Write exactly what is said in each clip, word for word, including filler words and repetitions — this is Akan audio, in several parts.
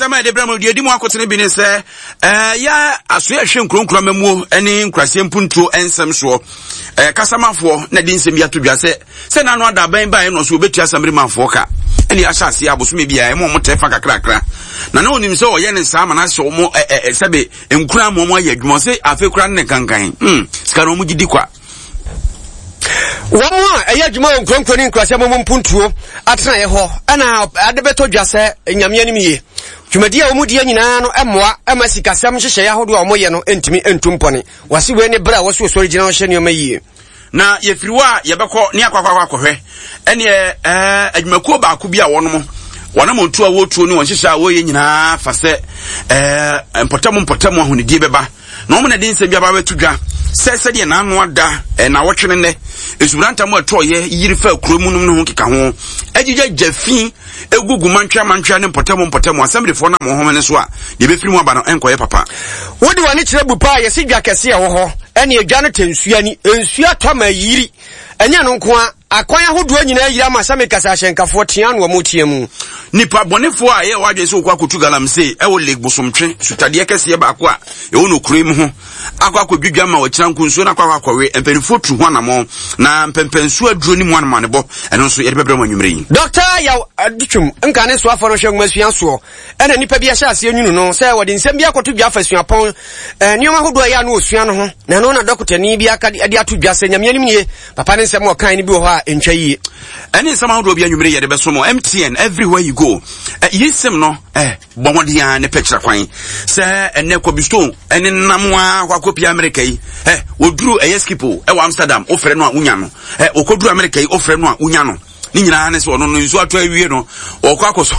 Nsɛm a yɛde brɛ mu deɛ ɛdi mu akotene bi ne sɛ ɛɛ yɛ asoɛ ɛhwɛ nkuronkuro amamuo ne nkuraseɛ mpuntuo nsɛm soɔ. Ɛɛ kasamafoɔ na de nsɛm bi ato dwa sɛ sɛ n'ano ada abɛn baeɛ no so wɔbɛtua asamirimanfoɔ ka ɛne ahyɛ aseɛ abosome biara ɛma wɔn tɛ fa kakrakra na na onim sɛ ɔyɛ ne saa ma no ahyɛ wɔn ɛ ɛ sɛbe nkura ma wɔn ayɛ adwuma sɛ afei kura ne kankan hmm sika na wɔn gye di kwa. Wɔn a ɛyɛ adwuma wɔ nkuronkuro ne nkuraseɛ mu mpuntuo atenaeɛ hɔ ɛna ade bɛtɔ dwa sɛ Nyame anim yie. Dwumadi a wɔn die nyinaa no mmoa ma sikasɛm nhyehyɛeɛ ahodoɔ a wɔyɛ no ntumi ntu mpɔne. Wɔse wei ne berɛ a wɔso sɔre gyina hɔ hyɛ nneɛma yie. Na yɛfiri hɔ a yɛbɛkɔ ne akɔ akɔ akɔhwɛ ɛneɛ ɛɛ adwumakuo baako bi a wɔnom wɔn amontuo a wɔretuo ne wɔn nhyehyɛ a wɔreyɛ nyinaa fa sɛ ɛɛ mpɔtam mpɔtam ahonidie bɛba na wɔn na de nsɛm bi aba abɛto dwa sɛ sɛdeɛ n'ano ada nnawɔtwe no nnɛ nsuburantam a ɛtɔɔyɛ yiri fa kuro mu nom ne ho keka ho agyigya fi egugu mantwea mantwea ne mpɔtam mpɔtam asɛmdefoɔ nam wɔn home so a deɛ ɛbɛfiri mu aba no ɛnkɔyɛ papa. Wode w'ani kyerɛ bu paa yɛsi dwa kɛse a ɛwɔ hɔ ɛne adwa no tɛ nsuo ani nsuo atɔ ma yiri ɛnyɛ no nko a akwan ahodoɔ nyinaa yiri ama sɛ mekasa ahyɛnkafoɔ tea no wɔn tea mu. Nipa bɔnefoɔ a ɛyɛ wɔadwene sɛ wɔkɔ akɔtu galamsey ɛwɔ Lake Bosomtwe sutadeɛ kɛseɛ baako a ɛwɔ no kuro mu ho akɔ akɔdwidwa ma wɔkyerɛ nko nsuo no akɔ akɔ akɔwe mpanimfoɔ tu ho anammɔn na mpɛmpɛnsuo aduro ne mu anomanebɔ ɛno nso yɛde bɛbrɛ mu anwummerɛ yi. Dɔkta Yaw Adutwum nka ne soafoɔ no hwɛ nwomasua soɔ ɛna nnipa bi ahyɛ aseɛ nwunu no sɛ wɔde nsɛm bi akɔto dwa afa suapɔn nneɛma ahodoɔ a ɛyɛ a no ɔsua no ho na ɛno na dɔkotani bi aka de ato dwa sɛ Nyame anim nie papa ne nsɛm a ɔkae no bi wɔ hɔ a ɛntwa yie. Ɛne nsɛm ahodoɔ bi anwummerɛ yɛde bɛso mo M T N everywhere you go. Yi sim no eh, bɔ mmɔden a ne pɛ kyerɛ kwan sɛ ɛnɛ Kobi Stone ɛne nam a akɔ akɔpia Amerika yi ɛ wɔduru ɛyɛ Schiphol ɛwɔ Amsterdam, wofrɛ no a wonya no ɛ wɔkɔduru Amerika yi, wofrɛ no a wonya no. Ne nyinaa ne sɛ ɔno no nsuo atɔ awie no ɔkɔ akɔ so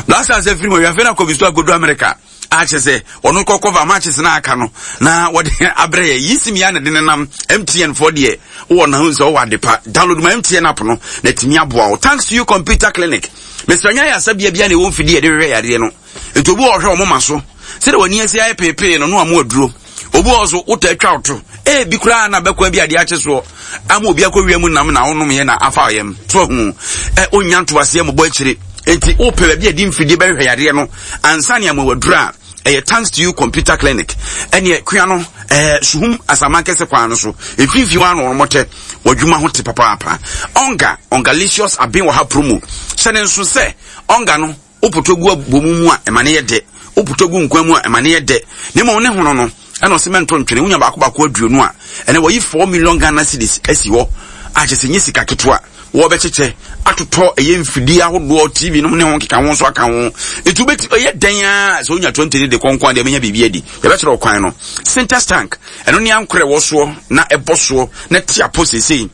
Black Stars afiri mu awiafei na Kobi Stone akɔduru Amerika akyɛ sɛ ɔno kɔkɔ va matches na aka no na wɔde abrɛ yɛ yi sim ya na de nenam. M T N foɔ deɛ wowɔ na ho sɛ wowɔ ade pa, download ma M T N app no na tumi aboa wo. Thanks to You Computer Clinic, mesrɛ nya yɛ asabea bia na ɛwɔ mfidie yɛde hwehwɛ yadeɛ no nti obi wɔ ɔhwɛ ɔmo ma so sɛdeɛ w'ani asi ayɛ peepee no no amo aduro obi wɔ so wotɔ atwa wo to ebi koraa na bɛkɔ bi adeɛ akye soɔ ama obi akɔ wia mu nam na wonom yɛ na afa yɛm so ahu ɛ onya ntoaseɛ mɔbɔ akyire. Nti wopɛ baabi a di mfidie bɛhwehwɛ yadeɛ no ansa ne ama waduro a ɛyɛ Thanks to You Computer Clinic. Ɛneɛ kua no ɛɛ Suhum Asaman kɛse kwan no so mfimfini hɔ ano wɔn tɛ wɔdwuma ho te papaapa. Ɔnga Ɔngalicious aben wɔ ha promo hyɛ ne nso sɛ ɔnga no wopotɔ gu abomu mu a ɛma ne yɛ dɛ, wopotɔ gu nkwan mu a ɛma ne yɛ dɛ ne ma ne hono no ɛna ɔsɛ mɛnto ntwene wonya baako baako aduonu a ɛnɛ wɔyi four million Ghana cedis asi hɔ a kyerɛ sɛ nye sika ketewa wɔbɛkyekyɛ atotɔ ɛyɛ mfidie ahodoɔ T V nom ne ho keka ho nso aka ho. Nti wobɛti ɛyɛ dɛn a sɛ wonya twenty ne de kɔnkɔn deɛ bɛnya biribi adi. Yɛbɛkyerɛ ɔkwan no Sintex tank ɛno ne ankorɛ wɔ soɔ na ɛbɔ soɔ na te apɔ seesei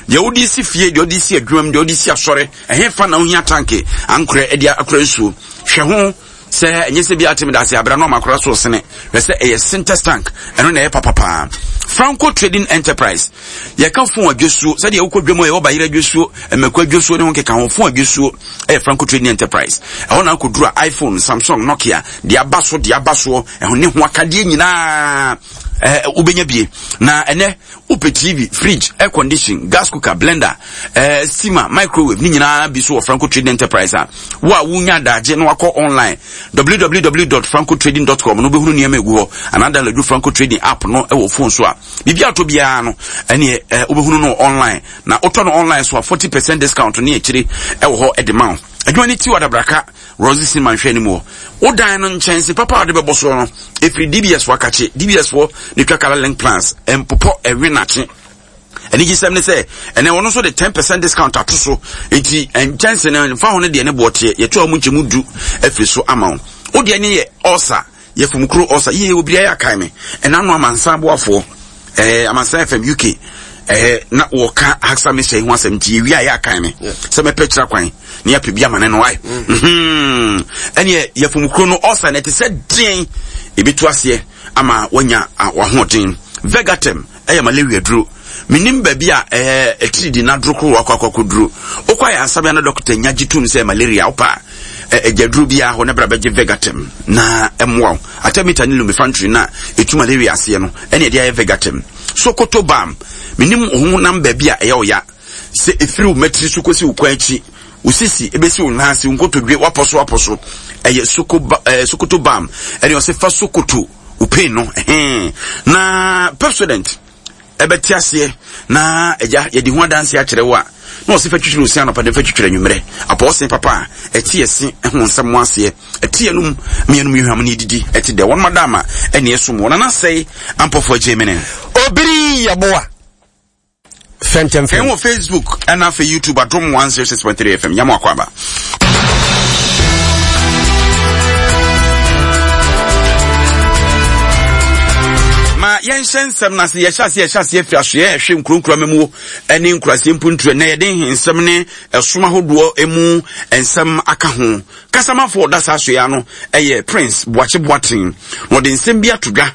deɛ wode si fie, deɛ wode si adwuma mu, deɛ wode si asɔre ɛhe fa na wohia tank ankorɛ ɛde akora nsuo. Hwɛ ho sɛ ɛnyɛ sɛ bi atemi da ase abira na ɔma akora so sene hwɛ sɛ ɛyɛ Sintex tank ɛno na ɛyɛ papapaa. Franco Trading Enterprise, yɛka phone adwosuo sɛdeɛ wokɔ dwam a yɛwɔ bayerɛ adwosuo, mmɛkɔ adwosuo ne ho keka ho. Phone adwosuo ɛyɛ Franco Trading Enterprise. Ɛhɔ na akɔduru a iPhone, Samsung, Nokia deɛ aba so deɛ aba soɔ ɛho ne ho akadeɛ nyinaa ɛɛ wobɛnya bie. Na ɛnɛ wopɛ T V, fridge, air condition, gas cooker, blender, ɛɛ steamer, microwave ne nyinaa bi so wɔ Franco Trading Enterprise. A wo a wonya adagye na wakɔ online w w w dot francotrading dot com no wobɛhunu nneɛma egu hɔ anaa download Franco Trading app no ɛwɔ phone so a biribi atɔ biara no ɛneɛ ɛɛ wobɛhunu no online na wotɔ no online so a forty percent discount ne akyire ɛwɔ hɔ ɛde ma wo. Adwuma no ti wɔ Adabraka Rosy Cinema nhwɛ anim hɔ. Wodan no nkyɛnse papa a wɔde bɛbɔ soɔ no ɛfiri D B S foɔ akakye D B S foɔ ne twa Color Link Plans mpopɔ ɛwe nakye. Anigyesɛm ne sɛ ɛnɛ wɔn nso de ten percent discount ato so nti nkyɛnse no nfa ho no deɛ ne boɔ teɛ yɛto a wɔn nkyɛn mu du afiri so ama wo. Wo deɛ ne yɛ ɔsa yɛfum kuro ɔsa yie obi ayɛ akae me ɛna no amansan aboafoɔ ɛɛ Amansan F M U K ɛɛ na wɔka Haksa mehyɛ ho asɛm nti yɛwie a yɛ akae me sɛ mɛpɛ kyerɛ kwan na yɛapɛ bi ama ne no ae ɛneɛ yɛfum kuro no ɔsa no ɛte sɛ deɛn ebi aseɛ ama wanya wahoɔden. Vegatem ɛyɛ malaria duro. Menim baabi a ɛɛ ɛtiridi n'aduro koro wakɔ akɔ akɔduro wokɔ ayɛ asabea na dɔkota nya gye tom sɛ malaria wopa ɛgya duro biara hɔ na bra bɛgye Vegatem na ɛmmoa wo. Artemether ne lumefantrine na ɛtu malaria aseɛ no ɛne ɛde ayɛ Vegatem. Sokoto Bam, menim wo honam baabi a ɛyɛ wo ya sɛ ɛfiri wo mmatiri so kɔsi wo kwan akyi. Wo sisi ebesi wo nan ase, wo nkotodwe wapɔ so wapɔ so. Ɛyɛ soko ba ɛɛ Sokoto balm. Ɛne ɔsɛ fa Sokoto wo pain no ɛhɛn. Na Pepsodent ɛbɛte aseɛ na agya yɛde ho adanse akyerɛ wo a na ɔsɛ fa twitwiri wo se anɔpa de fa twitwiri anwummerɛ. Apɔɔsen papa a ɛte ɛse ho nsɛm ho aseɛ ɛte yɛnum mmiɛnum yɛhwam ne yɛdidi ɛte dɛ wɔn madama ɛne ɛsom wɔn nanasɛe ampɔfoɔ agye mene. Obiri Yeboah. Fɛntɛm fɛn. Wɔ Facebook ɛna afei YouTube Adom one zero six point three F M. Nyamu akɔ aba. Ma yɛnhyɛ nsɛm no ase. Yɛhyɛ ase yɛhyɛ ase afiri asoɛ ɛhwɛ nkuronkuro amamuo ne nkuraseɛ mpuntuo. Ɛnɛ yɛde nsɛm ne ɛsom ahodoɔ mu nsɛm aka ho. Kasamafoɔ ɔda saa asoɛ ano ɛyɛ Prince Boakye Boateng, na ɔde nsɛm bi ato dwa.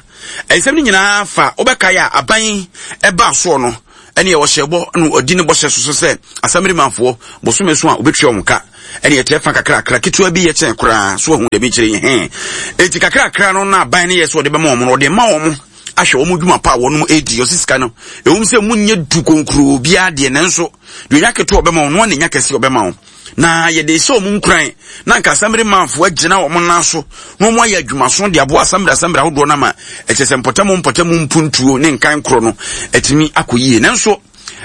Nsɛm no nyinaa fa wobɛkae a aban ɛbaa soɔ no ɛne ɔhyɛ bɔ na ɔdi ne bɔhyɛ so so sɛ asamirimanfoɔ bosome so a wɔbɛtua wɔn ka. Ɛne ɛkyɛ fa kakrakra ketewa bi yɛ kyɛn koraa so ahu dɛm kyerɛ yi hɛn. Enti kakrakra no na aban no yɛ sɛ ɔde bɛma wɔn no, ɔde ma wɔn ahwɛ wɔn dwuma pa a wɔn redi. Ɔsi sika no ɛwom sɛ mu nyɛ du konkroo biara deɛ, nanso deɛ ɔnya ketewa ɔbɛma wɔn no na nya kɛse ɔbɛma wɔn, na yɛde hyɛ wɔn nkuran na nka asamiri manfoɔ agyina wɔn nan so na wɔn ayɛ adwumaso de aboa asamiri asamiri ahodoɔ no ama ɛkyɛ sɛ mpɔtamu mpɔtamu mpuntuo ne nkan korɔ no atumi akɔ yie. Nanso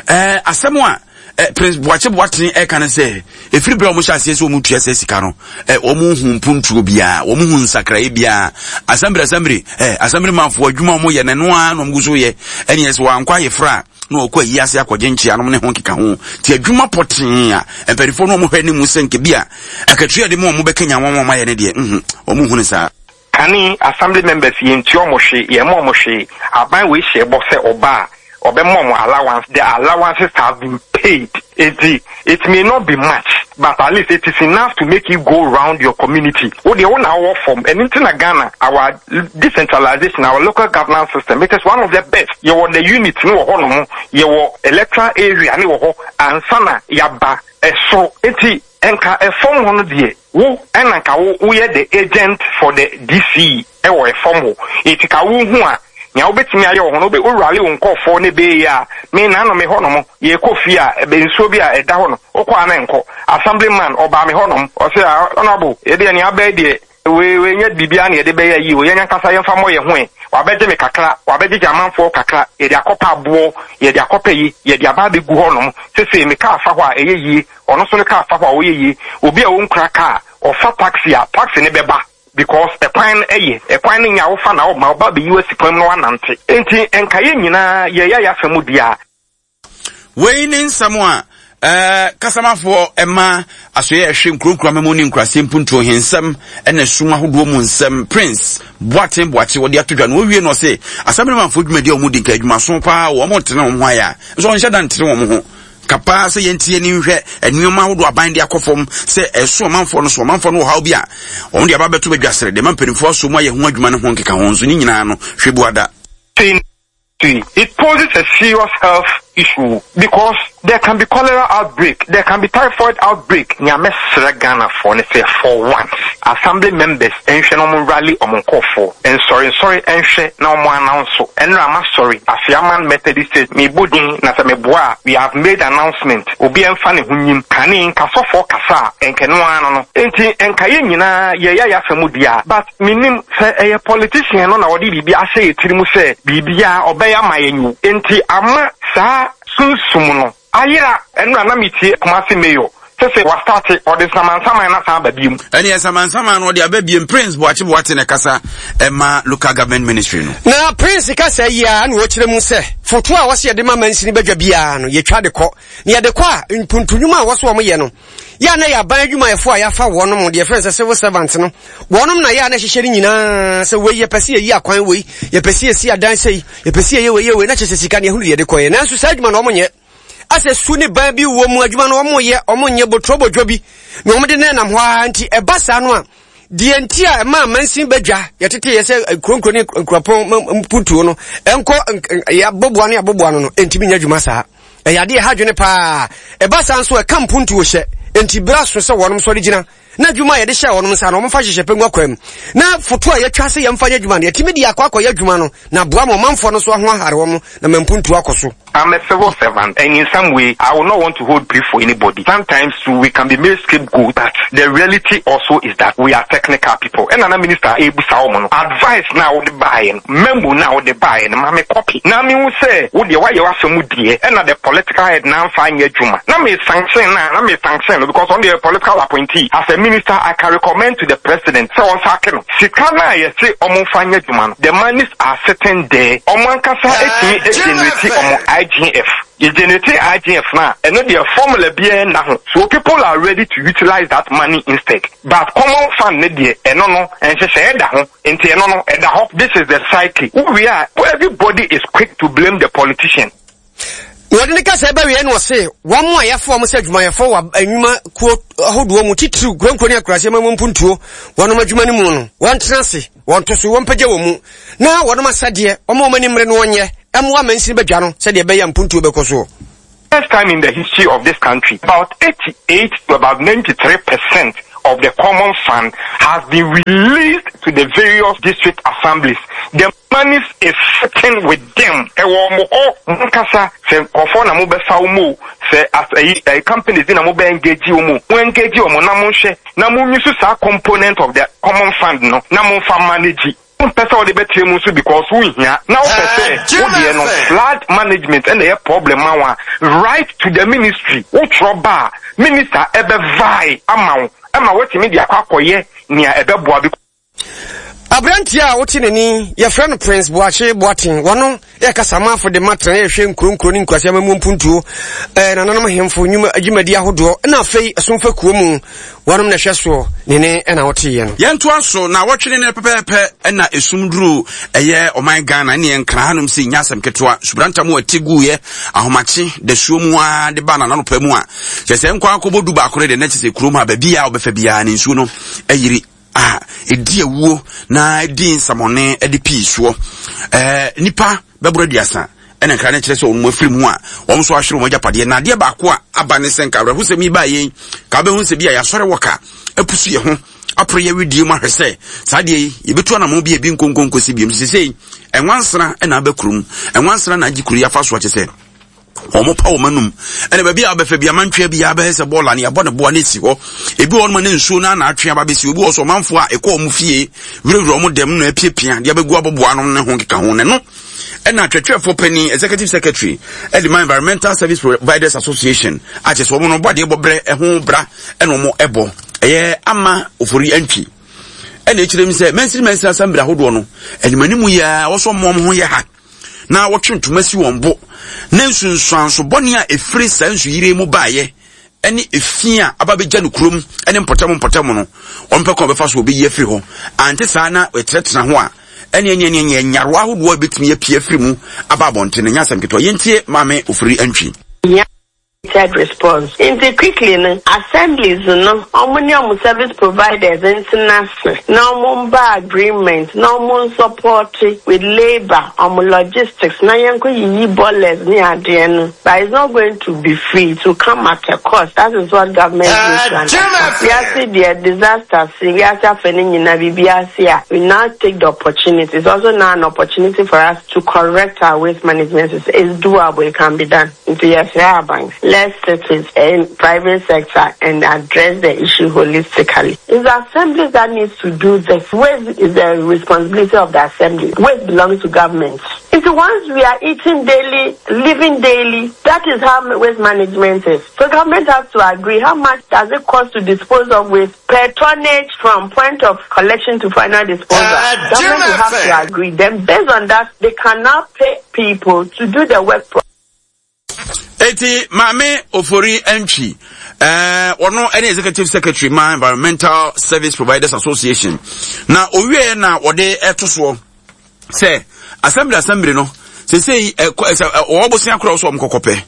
ɛɛ asɛm a ɛ Prince Boakye Boateng ɛka ne sɛ efiri bere a wɔn hyɛ aseɛ sɛ wɔn tua sɛ sika no, ɛ wɔn hu mpuntuo biara, wɔn hu nsakraeɛ biara. Asamiri asamiri ɛ asamiri manfoɔ adwuma wɔn yɛ n'ano ara na wɔn gu so yɛ. Ɛne ɛsɛ wɔn ankɔ ayefra a na ɔkɔ ayi ase akɔgye nkyeanom ne ho nkeka ho ti adwuma pɔtee a mpanimfoɔ no wɔn hwɛ ne mu sɛ nke bi a akatua de mu wɔn bɛkanya wɔn wɔn ayɛ ne deɛ mhm wɔn hu ne saa. Kane assembly members, yɛntua ɔmo hwee, yɛmma ɔmo hwee. Aban wei hyɛ bɔ sɛ ɔba a ɔbɛma ɔmo allowance. The allowances have been paid, eti it may not be much, but at least it is enough to make you go round your community. Wo deɛ wo na wowɔ fam. Ɛno nti na Ghana, our decentralization, our local governance system, it is one of the best. Yɛwɔ the unit ne wɔ hɔnom, yɛwɔ electoral area ne wɔ hɔ ansa na yaba ɛsoro. Nti nka ɛfam hɔ no deɛ, wo ɛna nka wo woyɛ the agent for the D C E ɛwɔ ɛfam hɔ. Eti ka wohu a nea wobɛtumi ayɛ wɔ hɔ no, wobɛ wowurale wo nkɔɔfoɔ ne bɛyɛ a me naano me hɔnom yɛkɔ fie a ɛbɛ nsuo bi a ɛda hɔ no wokɔ a na nkɔ. Assemblyman ɔbaa me hɔnom, ɔsɛ a honourable, yɛdeɛ nea abɛɛ deɛ wei wei nyɛ biribiara na yɛde bɛyɛ yi o, yɛn ankasa yɛmfa mmɔ yɛn ho ɛ. Wabɛgye me kakra, wabɛgyegye amanfoɔ kakra, yɛde akɔpɛ aboɔ, yɛde akɔpɛ yi, yɛde aba abɛgu hɔnom. Sese me kaa fa hɔ a ɛyɛ yie, ɔno nso ne kaa fa hɔ a ɔyɛ yie. Obi a ɔnkura kaa ɔfa taxi a, taxi ne bɛba because ɛkwan no ɛyɛ ɛkwan no nya wofa na ɔma ɔba bɛyi wasi kwan mu na wanante. Nti nka yɛn nyinaa yɛyɛ yɛ asɛm di a. Wei ne nsɛm a ɛɛ kasamafoɔ ɛma asoyɛ ɛhwɛ nkuronkuro amamu ne nkuraseɛ mpuntuo hensɛm ɛna sum ahodoɔ mu nsɛm, Prince Boateng Boakye, wɔde ato dwa no. Wɔwie no ɔse asɛmnemanfoɔ dwumadi a wɔn di nka adwumaso paa, wɔn tene wɔn ho ayɛ a nso ɔnhyɛ da ntene wɔn ho kapaa sɛ yɛntie ne nhwɛ nneɛma ahodoɔ aban de akɔ fam sɛ ɛso ɔmanfoɔ no so. Ɔmanfoɔ no wɔ haw bi a wɔn de aba bɛto badwa sere de ma mpanimfoɔ aso mu ayɛ ho adwuma ne ho nkeka ho nso ne nyinaa no hwɛ buada. It poses a serious health issue because there can be cholera outbreak, there can be typhoid outbreak. Nea mɛsrɛ Ghanafoɔ ne sɛ for once, assembly members nhwɛ na ɔmo rally ɔmo nkɔɔfoɔ nsɔre nsɔre nhwɛ na ɔmo announce. Ɛnna ama sɔre Afiaman Methodist Church mebɔ din na sɛ meboa a, we have made announcement. Obi ɛmfa ne ho nyim kane nkasɔfoɔ kasa a nkɛno ano no. Nti nka yɛn nyinaa yɛyɛ yɛ asɛm di a, but menim sɛ ɛyɛ politician no na wɔde biribi ahyɛ yɛ tiri mu sɛ biribiara ɔbɛyɛ ama yɛn o. Nti ama saa sunsum no ayera. Ɛno na metie Kumase mayor sɛ sɛ wastate ɔde nsamansaman no asan aba biom. Ɛne nsamansaman no ɔde aba biem. Prince Boakye Boate ne kasa ɛma Local Government Ministry no. Na Prince kasa yi a na wɔkyerɛ mu sɛ foto a wɔsɛ yɛde ma mansini badwa biara no, yɛtwa de kɔ na yɛde kɔ a mpuntunwuma a wɔso wɔn yɛ no yɛ a na yɛ aban adwumayɛfoɔ a yɛafa wɔnom deɛ yɛfrɛ no sɛ civil servant no, wɔnom na yɛ a na ɛhyehyɛ no nyinaa sɛ wei yɛpɛ sɛ yɛyi akwan, wei yɛpɛ sɛ yɛsi adan sɛi, yɛpɛ sɛ yɛyɛ wei yɛ wei, na kyerɛ sɛ sika no yɛhunu deɛ yɛde kɔyɛ. Nanso saa adwuma no wɔn nyɛ asɛ su ne ban bi wɔ mu adwuma no wɔn yɛ wɔn nyɛ botorobodwo bi na wɔn de nenam hɔ ara. Nti ɛba saa no a, deɛ nti a ɛma amansin badwa yɛtete yɛ sɛ nkuronkuro ne nkuropɔn mpuntuo no ɛnkɔ yɛaboboa no yɛaboboa no no ɛntumi nyɛ adwuma saa. Ɛyɛ adeɛ ɛha adwene paa. Ɛba saa nso ɛka mpuntuo hyɛ. Nti berɛ aso sɛ wɔnom sɔre gyina Na adwuma a yɛde hyɛ wɔn nsa no, wɔmfa hyehyɛ pɛ ngu akwan mu. Na foto a yɛatwa sɛ yɛmfa nyɛ adwuma no, yɛtumi de akɔ akɔyɛ adwuma no, na aboa ma ɔmanfoɔ no nso ho ahare wɔn na ma mpuntuo akɔ so. I'm a civil servant, and in some way, I will not want to hold brief for anybody. Sometimes too, we can be made scapegoat, but the reality also is that we are technical people. And another minister, ebusa wɔn no, advice na wode baeɛ no, memo na wode baeɛ no, ma me copy. Na me hu sɛ, wo deɛ wayɛ w'asɛm deɛ, ɛna the political head na amfa anyɛ adwuma. Na me sanction na, na me sanction no, because on the political appointee, as a minister, I can recommend to the president, sɛ ɔn sack no. Sika na yɛse ɔmo mfa nyɛ adwuma no, the monies are sitting there. Ɔmo ankasa etumi generate ɔmo I G F. Yɛ generate I G F na ɛno deɛ, formula biara nna ho. So people are ready to utilize that money instead. But common fund ne deɛ, ɛno no, nhyehyɛeɛ da ho. Nti ɛno no, ɛda hɔ. This is the cycle. We are, everybody is quick to blame the politician. Na wɔde ne kasa ɛbɛwie no, ɔse wɔn a yɛafa wɔn sɛ adwumayɛfoɔ wɔ anwuma kuo ahodoɔ mu, titiriw kuronkuro ne akuraseɛ ma mu mpuntuo wɔnom adwuma no mu no, wɔntena ase, wɔnto so, wɔmpagya wɔ mu na wɔnom asɛdeɛ wɔma wɔn ani mmere no, wɔnyɛ ɛmmoa mansini badwa no sɛdeɛ ɛbɛyɛ mpuntuo bɛkɔ soɔ. First time in the history of this country, about eighty-eight to about ninety-three percent of the common fund has been released to the various district assemblies. The money is sitting with them. Ɛwɔ mo hɔ, mo nkasa sɛ nkɔfoɔ na mo bɛfa wo mu, sɛ as ɛyi ɛyi companies bi na mo bɛ engage wɔn mu, mo engage wɔn na mo nhwɛ na mo use saa component of the common fund no na mo nfa manage. Wompɛ sɛ wode bɛkyerɛ mu nso because wonhia na wopɛ sɛ wodeɛ no, flood management ɛna ɛyɛ problem ma wo a, write to the ministry. Wotwerɛ ba a, minister ɛbɛvae ama wo ɛma woatumi de akɔ akɔyɛ nea ɛbɛboa bi. Aberanteɛ a wote n'ani, yɛfrɛ no Prince Boakye Boaten. Wɔno yɛ kasamafo de matena yɛhwɛ nkuronkuro ne nkurase amamu mpuntuo, eh, nananom ahemfo nnwuma dwumadi ahodoɔ, na afei ɛsomfa kuo mu wɔnom na ɛhwɛ soɔ ne ne ɛna woteeɛ no. Yɛntoa so na wɔtwene no pɛpɛɛpɛ ɛna esum duru ɛyɛ ɔman Ghana ne yɛn nkra hanom sɛ nya asɛm ketewa subrantam a ɛte guiɛ ahomakye dasuo mu a de ba nananɔpa mu a kyɛ sɛ nkɔ akɔbɔ du baako no deɛ, na kyɛ sɛ kurom ha baabi a wobɛfa biara ne nsuo no ayiri a ɛdi awuo na ɛdi nsamɔne de pii soɔ. ɛɛ nipa bɛboro aduasa ɛna nkra no kyerɛ sɛ wɔn afiri mu a wɔn nso ahwere wɔn agyapadeɛ. Na adeɛ baako a aba ne sɛ nka awerɛhosɛm yi baa yɛn ka wobɛhu sɛ bi a yɛasɔre wɔ ka apusu yɛ ho aporo yɛ wedie mu ahwɛ sɛ saa adeɛ yi yɛbɛtu anamɔ bi a ebi nkonkonkosi biom. Sesei ɛnwansena ɛna aba kurom, ɛnwansena na agye kuro yi afa so akyɛ sɛ wɔn pa wɔn anum ɛna baabi a wɔbɛfɛ bi amantwea bi abɛyɛ sɛ bɔɔla ne yɛabɔ ne boa ne esi hɔ. Ebi wɔ hɔ ne nsuo no ana atwe aba bɛsi. Obi wɔ so, ɔmanfoɔ a ɛkɔ wɔn fie wurawura wɔn dɛm na apiapia deɛ abɛgu aboboa no ne ho keka ho. Ne no ɛna atwɛtwɛfoɔ panyin, executive secretary ɛde ma Environmental Service Providers Association, akyɛ sɛ wɔn no bɔ adeɛ bɔ brɛ ɛho bra ɛna wɔn ɛbɔ ɛyɛ Ama Ofori Antwi, ɛna ekyirɛ mu sɛ mansini mansini assembly ahodoɔ no animanimu yi a wɔsɔ wɔn ho yɛ ha na wɔtwe ntoma si wɔn bo na nsunsuanso bɔne a ɛfiri saa nsuyire mu baeɛ ɛne efi a aba bɛgya no kurom ɛne mpɔtam mpɔtam no, wɔn pɛ kɔn bɛfa so wɔbɛyi afiri hɔ. Ante saa na ɛtenatena ho a, ɛne ɛne ɛne ɛne nyarewa ahodoɔ a ɛbɛtumi apue afiri mu aba abɔnten no nyɛ asɛm ketewa. Yɛntie Maame Ofiri Antwi. Response nti quickly no, assemblies no, ɔmo ne ɔmo service providers ntena ase na ɔmo mba agreement na ɔmo support with labour, ɔmo logistics, na yɛn kɔ yiyi ballers ne adeɛ no. But it's not going to be free, it will come at a cost. That is what government needs to understand. Wiase deɛ, disaster si wiase afɛ ne nyinaa biribi ase a, we now take the opportunity. It's also now an opportunity for us to correct our waste management system. It's doable, it can be done. Nti yɛsrɛ aban, let's sit with in private sector and address the issue holistically. It's the assemblies that needs to do this. Waste is the responsibility of the assembly. Waste belongs to government. It's the ones we are eating daily, living daily. That is how waste management is. So government has to agree, how much does it cost to dispose of waste per tonnage from point of collection to final disposal. Uh, government will have to agree. Then based on that, they cannot pay people to do the work. Eti Maame Ofori Antwi, ɛɛ ɔno ɛne executive secretary ma Environmental Service Providers Association, na owie na wɔde ɛto soɔ sɛ assembly assembly no sesei ɛkɔ ɛsɛ ɔwɔ bosia korɔ so, ɔmo kɔkɔpɛ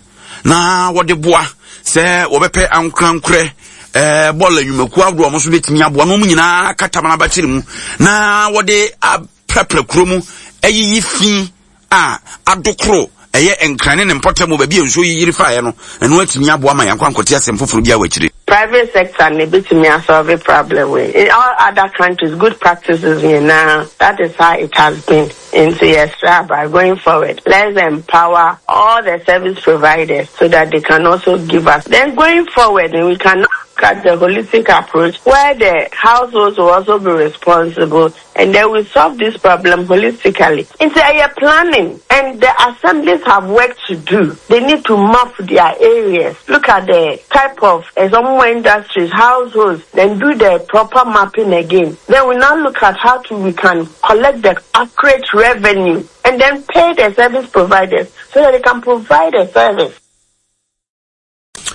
na wɔde boa sɛ wɔbɛpɛ ankorankorɛ ɛɛ bɔɔl nnwumakuo ahodoɔ a wɔn nso bɛtumi aboa na wɔn nyinaa katam n'abakyere mu na wɔde aprapra kuro mu, ɛyiyi fi a adokoro ɛyɛ Nkran ne ne mpɔtam baabi a nsuo yiyiri faeɛ no. Ɛno atumi aboa ma yɛn akɔ ankɔte asɛm foforɔ bi a wɔ akyire. Private sector na ebetumi asolve problem wei. In all other countries, good practices nyinaa, that is how it has been. Nti yɛsrɛ aba, going forward, let's empower all the service providers so that they can also give us. Then going forward, we can look at the holistic approach where the households will also be responsible and then we solve this problem holistically. Nti ɛyɛ planning and the assemblies have work to do. They need to map their areas, look at the type of uh, some more industries, households, then do the proper mapping again. Then we now look at how to we can collect the accurate revenue and then pay the service providers so that they can provide a service.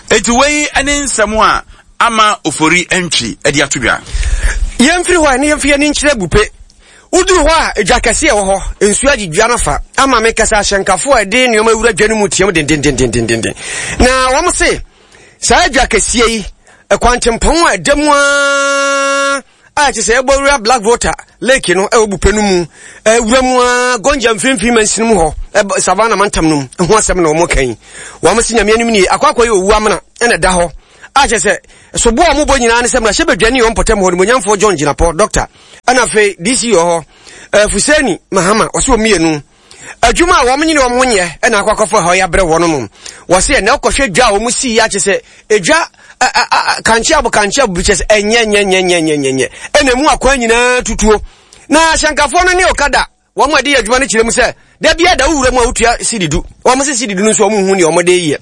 Eti wei ne nsɛm a ama Ofori Antwi de ato dwa. Yɛmfiri hɔ a ne yɛmfi yɛn nkyerɛ Bupe. Woduru hɔ a, edwa kɛse a ɛwɔ hɔ, nsuo agye dwa no fa ama me kasa ahyɛnkafo a ɛde nneɛma wura dwa no mu team dendendendendenden. Na wɔn se saa dwa kɛseɛ yi, ɛkwantempɔn a ɛda mu ara a kyerɛ sɛ ɛbɔ wura Black Volta Lake no ɛwɔ Bupe no mu, ɛwura mu ara Gonja mfimfini mansini mu hɔ, ɛbɔ Savannah mantam no mu, ho asɛm na wɔn ka yi. Wɔn se Nyame anim nie, akɔ akɔyɛ owu amena ɛna ɛda hɔ. A kyerɛ sɛ sobo a wɔbɔ nyinaa ne sɛ mmarahyɛ badwani wɔ mpɔtam hɔ nimonyamfoɔ John Jinapor, Doctor, ɛna afei D C wɔ hɔ, uh, Fuseni Mahama, wɔsɛ wɔn mmienu adwuma a wɔn nyine wɔn ho nyɛ ɛna akɔ akɔfɔ hɔ yɛabrɛ wɔn no. Wɔsɛ ɛnɛ ɔkɔhwɛ dwa a wɔn si yi akyɛ sɛ edwa kankye abo kankye abo bi kyɛ sɛ ɛnyɛ nyɛ nyɛ nyɛ nyɛ nyɛ nyɛ ɛna emu akwan nyinaa tutuo na ahyɛnkafoɔ no ne okada wɔn a de yɛ adwuma no kyerɛ mu sɛ da bia da wowura mu a wotua sidi du. Wɔn sɛ sidi du no nso wɔn hu nea wɔn de yɛ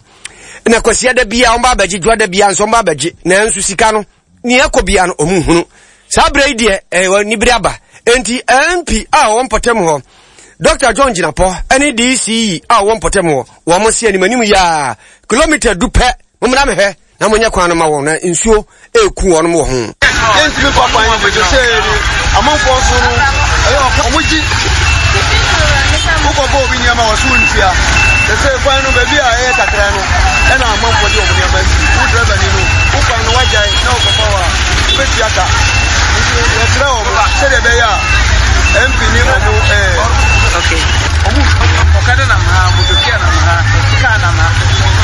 na kwasia da bia wɔn ba abɛgye dwa da bia nso wɔn ba abɛgye, nanso sika no nea ɛkɔ bia no wɔn hunu. Saa berɛ yi deɛ ɛwɔ nibere aba nti M P a wɔn mpɔtam hɔ, Doctor John Jinapor, ɛne D C E a wɔn mpɔtam hɔ, wɔn si anim anim yaa kilomita du pɛ, mommra mehwɛ na monyɛ kwan no ma wɔn na nsuo eku wɔn wɔ ho. Yɛntumi fa kwan no so sɛ ni amanfoɔ nso no ɛyɛ ɔmo gye wokɔbɔ obi nneɛma wɔ so ntua sɛ sɛ kwan no baabi a ɛyɛ kakra no ɛna amanfoɔ de ɔmo nneɛma si wo driver ni no wo kwan no wagyae na wokɔfa hɔ a wobɛtua ka. Nti yɛkyerɛ ɔmo sɛdeɛ ɛbɛyɛ a M P ne ɔmo ɛɛ ɔmo ɔkada nam ha, motokia nam ha, kaa nam ha,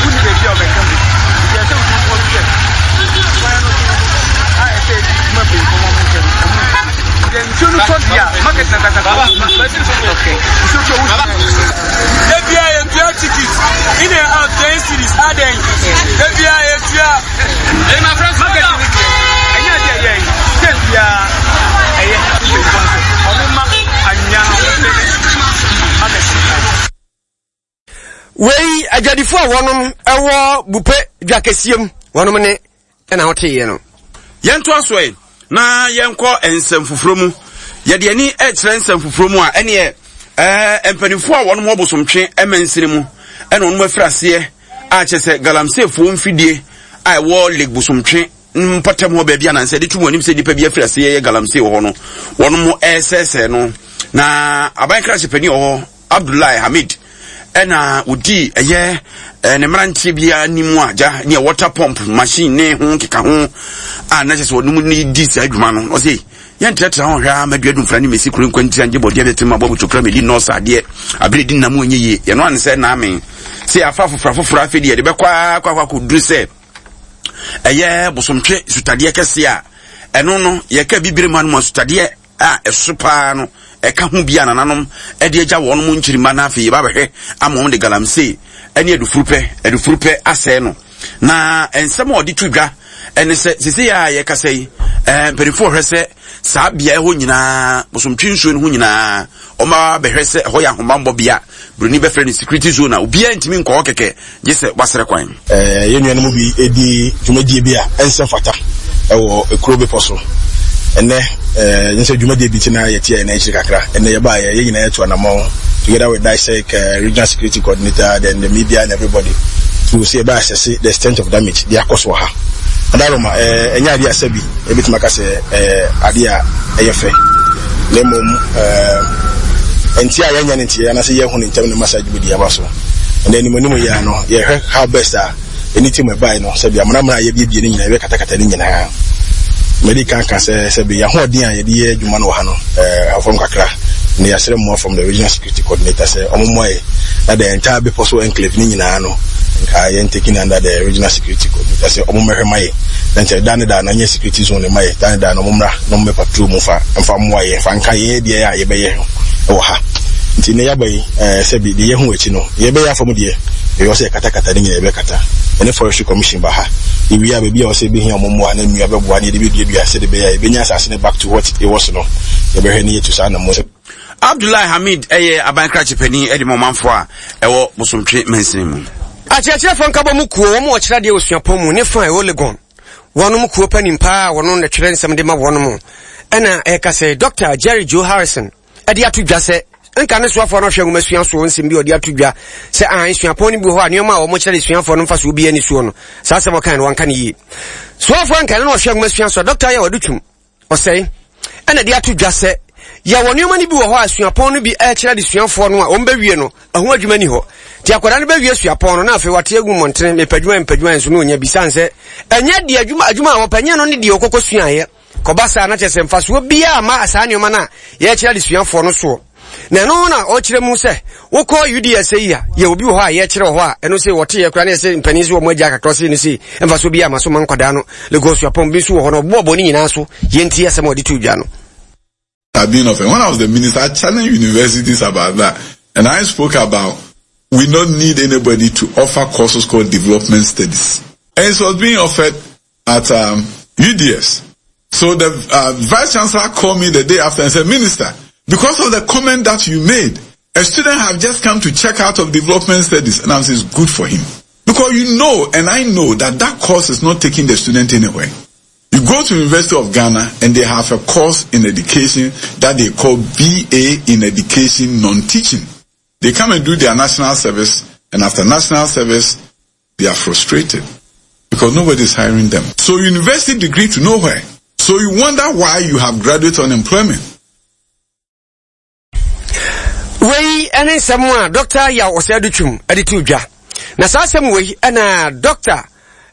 wonni baabi a ɔbɛka mu. Nti ɛsɛ nkurɔfoɔ sɛ kwan no so a ɛsɛ adwuma mpanyinfoɔ ma mo nhwɛ no ɔmo deɛ nsuo no tɔ deɛ a market na kasa nsuo tɔ wo. Ebia yɛtua ticket in and out ten cedis adɛn? Ebia yɛtua market no deɛ ɛnyɛ adeɛ ɛyɛ yi sɛ biara ɛyɛ mpanyinfoɔ nso ɔmo ma anwea no ɔmo pɛ market no. Wei adwadifoɔ a wɔnom ɛwɔ Bupe dwa kɛseɛ mu wɔnom ne ɛna woteeɛ no. Yɛnto aso ɛ na yɛnkɔ nsɛm foforɔ mu. Yɛde ani ɛkyerɛ nsɛm foforɔ mu a ɛneɛ ɛɛ mpanimfoɔ a wɔnom wɔ Bosomtwe ɛmansini mu ɛna wɔnom afiri aseɛ a kyerɛ sɛ galamseefoɔ mfidie a ɛwɔ Lake Bosomtwe mpɔtam hɔ baabi anansɛ de tum anim sɛ nipa bi afiri aseɛ yɛ galamsey wɔ hɔ no, wɔnom ɛresɛesɛe no. Na aban krakye panin wɔ hɔ, Abdullahi Hamid, ɛna wodi ɛyɛ ɛɛ ne mmeranteɛ bi anim a gya ne water pump machine ne ho nkeka ho a na kyerɛ sɛ wɔnom ne di saa adwuma no. Ɔsɛ yɛntrɛtrɛ ho hwɛ a madua dumfra ne mesi kuro nkwantia ngye bɔdeɛ bɛtɛ mu abɔ botokura medi nɔɔsa adeɛ abere di nam ɛnyɛ yie. Yɛno ane sɛ naame sɛ yɛafa foforɔ afoforɔ afei deɛ yɛde bɛkɔ akɔ akɔ akɔduru sɛ ɛyɛ Bosomtwe sutadeɛ kɛseɛ a ɛno no yɛka bibire mu anom a sutadeɛ a ɛso paa no ɛka ho bi a nananom ɛde agya wɔn mo nkyirima. No afei yɛba bɛhwɛ ama wɔn de galamsey ɛne adufurupɛ adufurupɛ asɛe no. Na nsɛm a ɔde to dwa ɛne sɛ sisi a yɛkasa yi, ɛɛ mpanimfoɔ hwɛ sɛ saa beaeɛ hɔ nyinaa, Bosomtwe nsuo no ho nyinaa, ɔma bɛhwɛ sɛ ɛhɔ yɛ ahobanbɔ bea, buroni bɛfrɛ no security zone, a obiara ntumi nkɔ hɔ kɛkɛ gye sɛ wasrɛ kwan. ɛɛ yɛn nuanom bi di dwumadie bi a ɛnsɛ fata ɛwɔ ekuro bepɔ so ɛnɛ. ɛɛ n sɛ dwumadie bi ti na yɛte yɛn akyiri kakra. Ɛnɛ yɛbaa yɛ yɛn nyinaa yɛtu anamɔn together with DISEC uh, regional security coordinator, then the media and everybody to see ɛbɛ assess the extent of damage de akɔ so wɔ ha. Adaroma ɛɛ ɛnyɛ adeɛ asɛ bi ebitumi aka sɛ ɛɛ adeɛ a ɛyɛ fɛ, na mmom ɛɛ nti a yɛnyɛ ne nti anaasɛ yɛhu ne ntɛm ne masa dwumadie aba so. Ɛnɛ anim anim yɛ ano yɛhwɛ how best a ɛne team ɛbae no sɛbi amanamana a yɛbiebie no nyinaa yɛbɛkatakata no nyinaa. Mɛde kan ka sɛ sɛbi yɛahoɔden a yɛde yɛ adwuma no wɔ ha no ɛɛ afɔm kakra na yɛasrɛ mmoa from the regional security coordinator sɛ ɔmo mmoa yɛ na the entire bepɔ so enclave ne nyinaa no Nka yɛn taking under the regional security coordinator sɛ ɔmo mmɛhwɛ ma yɛ na nkyɛn da ne da na nyɛ security zone ne ma yɛ da ne da na ɔmo mmra na ɔmo bɛ patrol mu fa mfa mmoa yɛ fa nka yɛn deɛ a yɛbɛyɛ ɛwɔ ha. Nti ne yaba yi, ɛɛ sɛbi deɛ yɛho akyi no, yɛbɛyɛ afa mu deɛ ɛyɛ sɛ yɛkatakata ne nyinaa yɛbɛkata. Ɛne Forestry Commission ba ha ewie a, baabi a ɔsɛ ebɛhia ɔmo mmoa na nnua bɛboa ne yɛde bɛduadua sɛde bɛyɛ a yɛbɛnya asase no back to what it was no, yɛbɛhwɛ ne yɛtu saa na mo. Abdullahi Hamid ɛyɛ aban krakye panin ɛde ma ɔmanfoɔ a ɛwɔ Bosomtwe mansini mu. Akyerɛkyerɛfoɔ nkabɔ mu kuo wɔn a wɔkyerɛ adeɛ wɔ suapɔn mu ne fa a ɛwɔ Legon, wɔnom kuo panin paa a wɔno na twerɛ nsɛm de ma wɔnom, ɛna ɛka sɛ Doctor Jerry Joe Harrison ɛde ato dwa sɛ nka ne soafoɔ no hwɛ nwoma sua soɔ nsɛm bi a ɔde ato dwa sɛ ah suapɔn no bi wɔ hɔ a nneɛma a wɔn kyerɛ de suafoɔ no mfa so obi ani soɔ no, saa asɛm ɔkan no wanka no yie. Soafoɔ nka ne na ɔhwɛ nwoma sua soɔ, Doctor yɛ wɔde twum ɔsɛe ɛna de ato dwa sɛ yɛwɔ nneɛma no bi wɔ hɔ a suapɔn no bi ɛkyerɛ de suafoɔ no a wɔn bɛwie no, ɛho adwuma ni hɔ. Nti akwadaa no bɛwie suapɔn no na afei wate agu mmɔntene, mepɛ adwuma, mepɛ adwuma, nso no onya bi san sɛ ɛnyɛ deɛ adwuma adwuma a wɔpɛ nyɛ no ne deɛ ɔkɔkɔ suaeɛ kɔba saa na kyerɛ sɛ mfasoɔ biara ma saa nneɛma no a yɛkyerɛ de suafoɔ no soɔ. Na ɛno na ɔkyerɛ mu sɛ wokɔ U D S yi a, yɛ obi wɔ hɔ a yɛkyerɛ wɔ hɔ a ɛno sɛ wɔte yɛ kora ne yɛsɛ mpanin sɛ wɔn agya kakra sɛ no sɛ mfasoɔ biara ma so ma nkwadaa no. Legon suapɔn bi nso wɔ hɔ no, ɔboɔbɔ ne nyinaa so. Yɛnti asɛm a ɔde to dwa no. Have been offered. When I was the minister, I challenged universities about that. And I spoke about we don't need anybody to offer courses called development studies. And it was being offered at um, U D S. So the uh, vice chancellor called me the day after and said, "Minister, because of the comment that you made, a student have just come to check out of development studies." And I'm saying it's good for him. Because you know, and I know that that course is not taking the student anywhere. You go to University of Ghana and they have a course in education that they call B A in Education Non-Teaching. They come and do their national service, and after national service, they are frustrated because nobody is hiring them. So university degree to nowhere. So you wonder why you have graduate unemployment. Wei ɛne nsɛm a Doctor Yaw Osei Adutwum ɛde to dwa. Na saa asɛm wei ɛna Doctor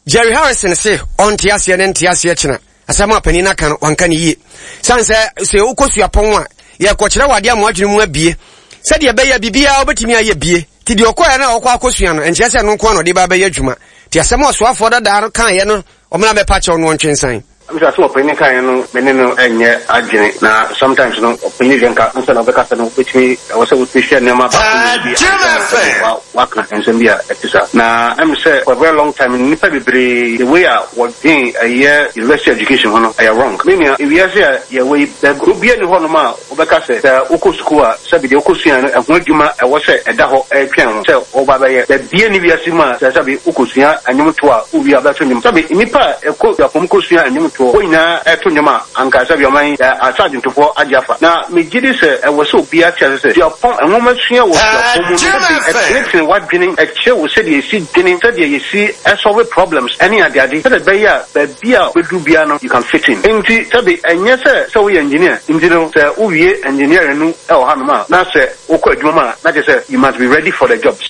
Jerry Harrison se ɔnte aseɛ ne nte aseɛ kyena asɛm a panin no aka no, wanka ne yie sane sɛ sɛ wokɔ suapɔn a, yɛkɔkyerɛ wɔ adeɛ ama adwene mu abie sɛdeɛ ɛbɛyɛ biribiara wobɛtumi ayɛ bie. Nti deɛ ɔkɔɛ no a ɔkɔ akɔsua no, ɛnkyerɛ sɛ ɛno nko a na ɔde ba bɛyɛ adwuma. Nti asɛm a ɔsoafoɔ dadaa no kaeɛ no, ɔmena bɛpa kyɛw no, ɔntwe nsan. Mr. Sɛ ɔpanyin kaeɛ no, me ne no ɛnyɛ adwene. Na sometimes no, ɔpanyin deɛ nka nsa na ɔbɛkasa no, wobɛtumi ɛwɔ sɛ wotumi hwɛ nneɛma baako mmienu bi ansa na waka nsɛm bi a ɛte saa. Na ɛm sɛ for a very long time nnipa bebree, the way a wɔdwen ɛyɛ university education ho no, ɛyɛ wrong. Me nua, ewiase a yɛwɔ yi, kuro bia ni hɔnom a wobɛka sɛ sɛ wokɔ sukuu a, sɛbi deɛ wokɔ sua no ɛho adwuma ɛwɔ sɛ ɛda hɔ ɛretwɛn ho sɛ wɔba bɛyɛ. Baabia ni wiase mu a sɛ sɛbi wokɔsua nnwomtoɔ a, wowie a wobɛto nnwom. Sɛbi nnipa a ɛkɔ suapɔn kɔsua nnwomtoɔ, wɔn nyinaa ɛto nnwom a, anka sɛbi ɔman asa adwontofoɔ agye afa. Na megye di sɛ ɛwɔ sɛ obiara te ase sɛ suapɔn nwoma sua wɔ suapɔn mu no, sɛbi ɛtenetene w'adwene, ɛkyerɛ wo sɛdeɛ yɛsi dwene, sɛdeɛ yɛsi ɛsolve problems ɛne adeade, sɛdeɛ ɛbɛyɛ a baabi a wobɛduru biara no, you can fit in. Nti sɛbi ɛnyɛ sɛ sɛ woyɛ engineer nti no, sɛ wowie engineering no ɛwɔ hanom a, na sɛ wokɔ adwuma mu a, na kyerɛ sɛ you must be ready for the jobs.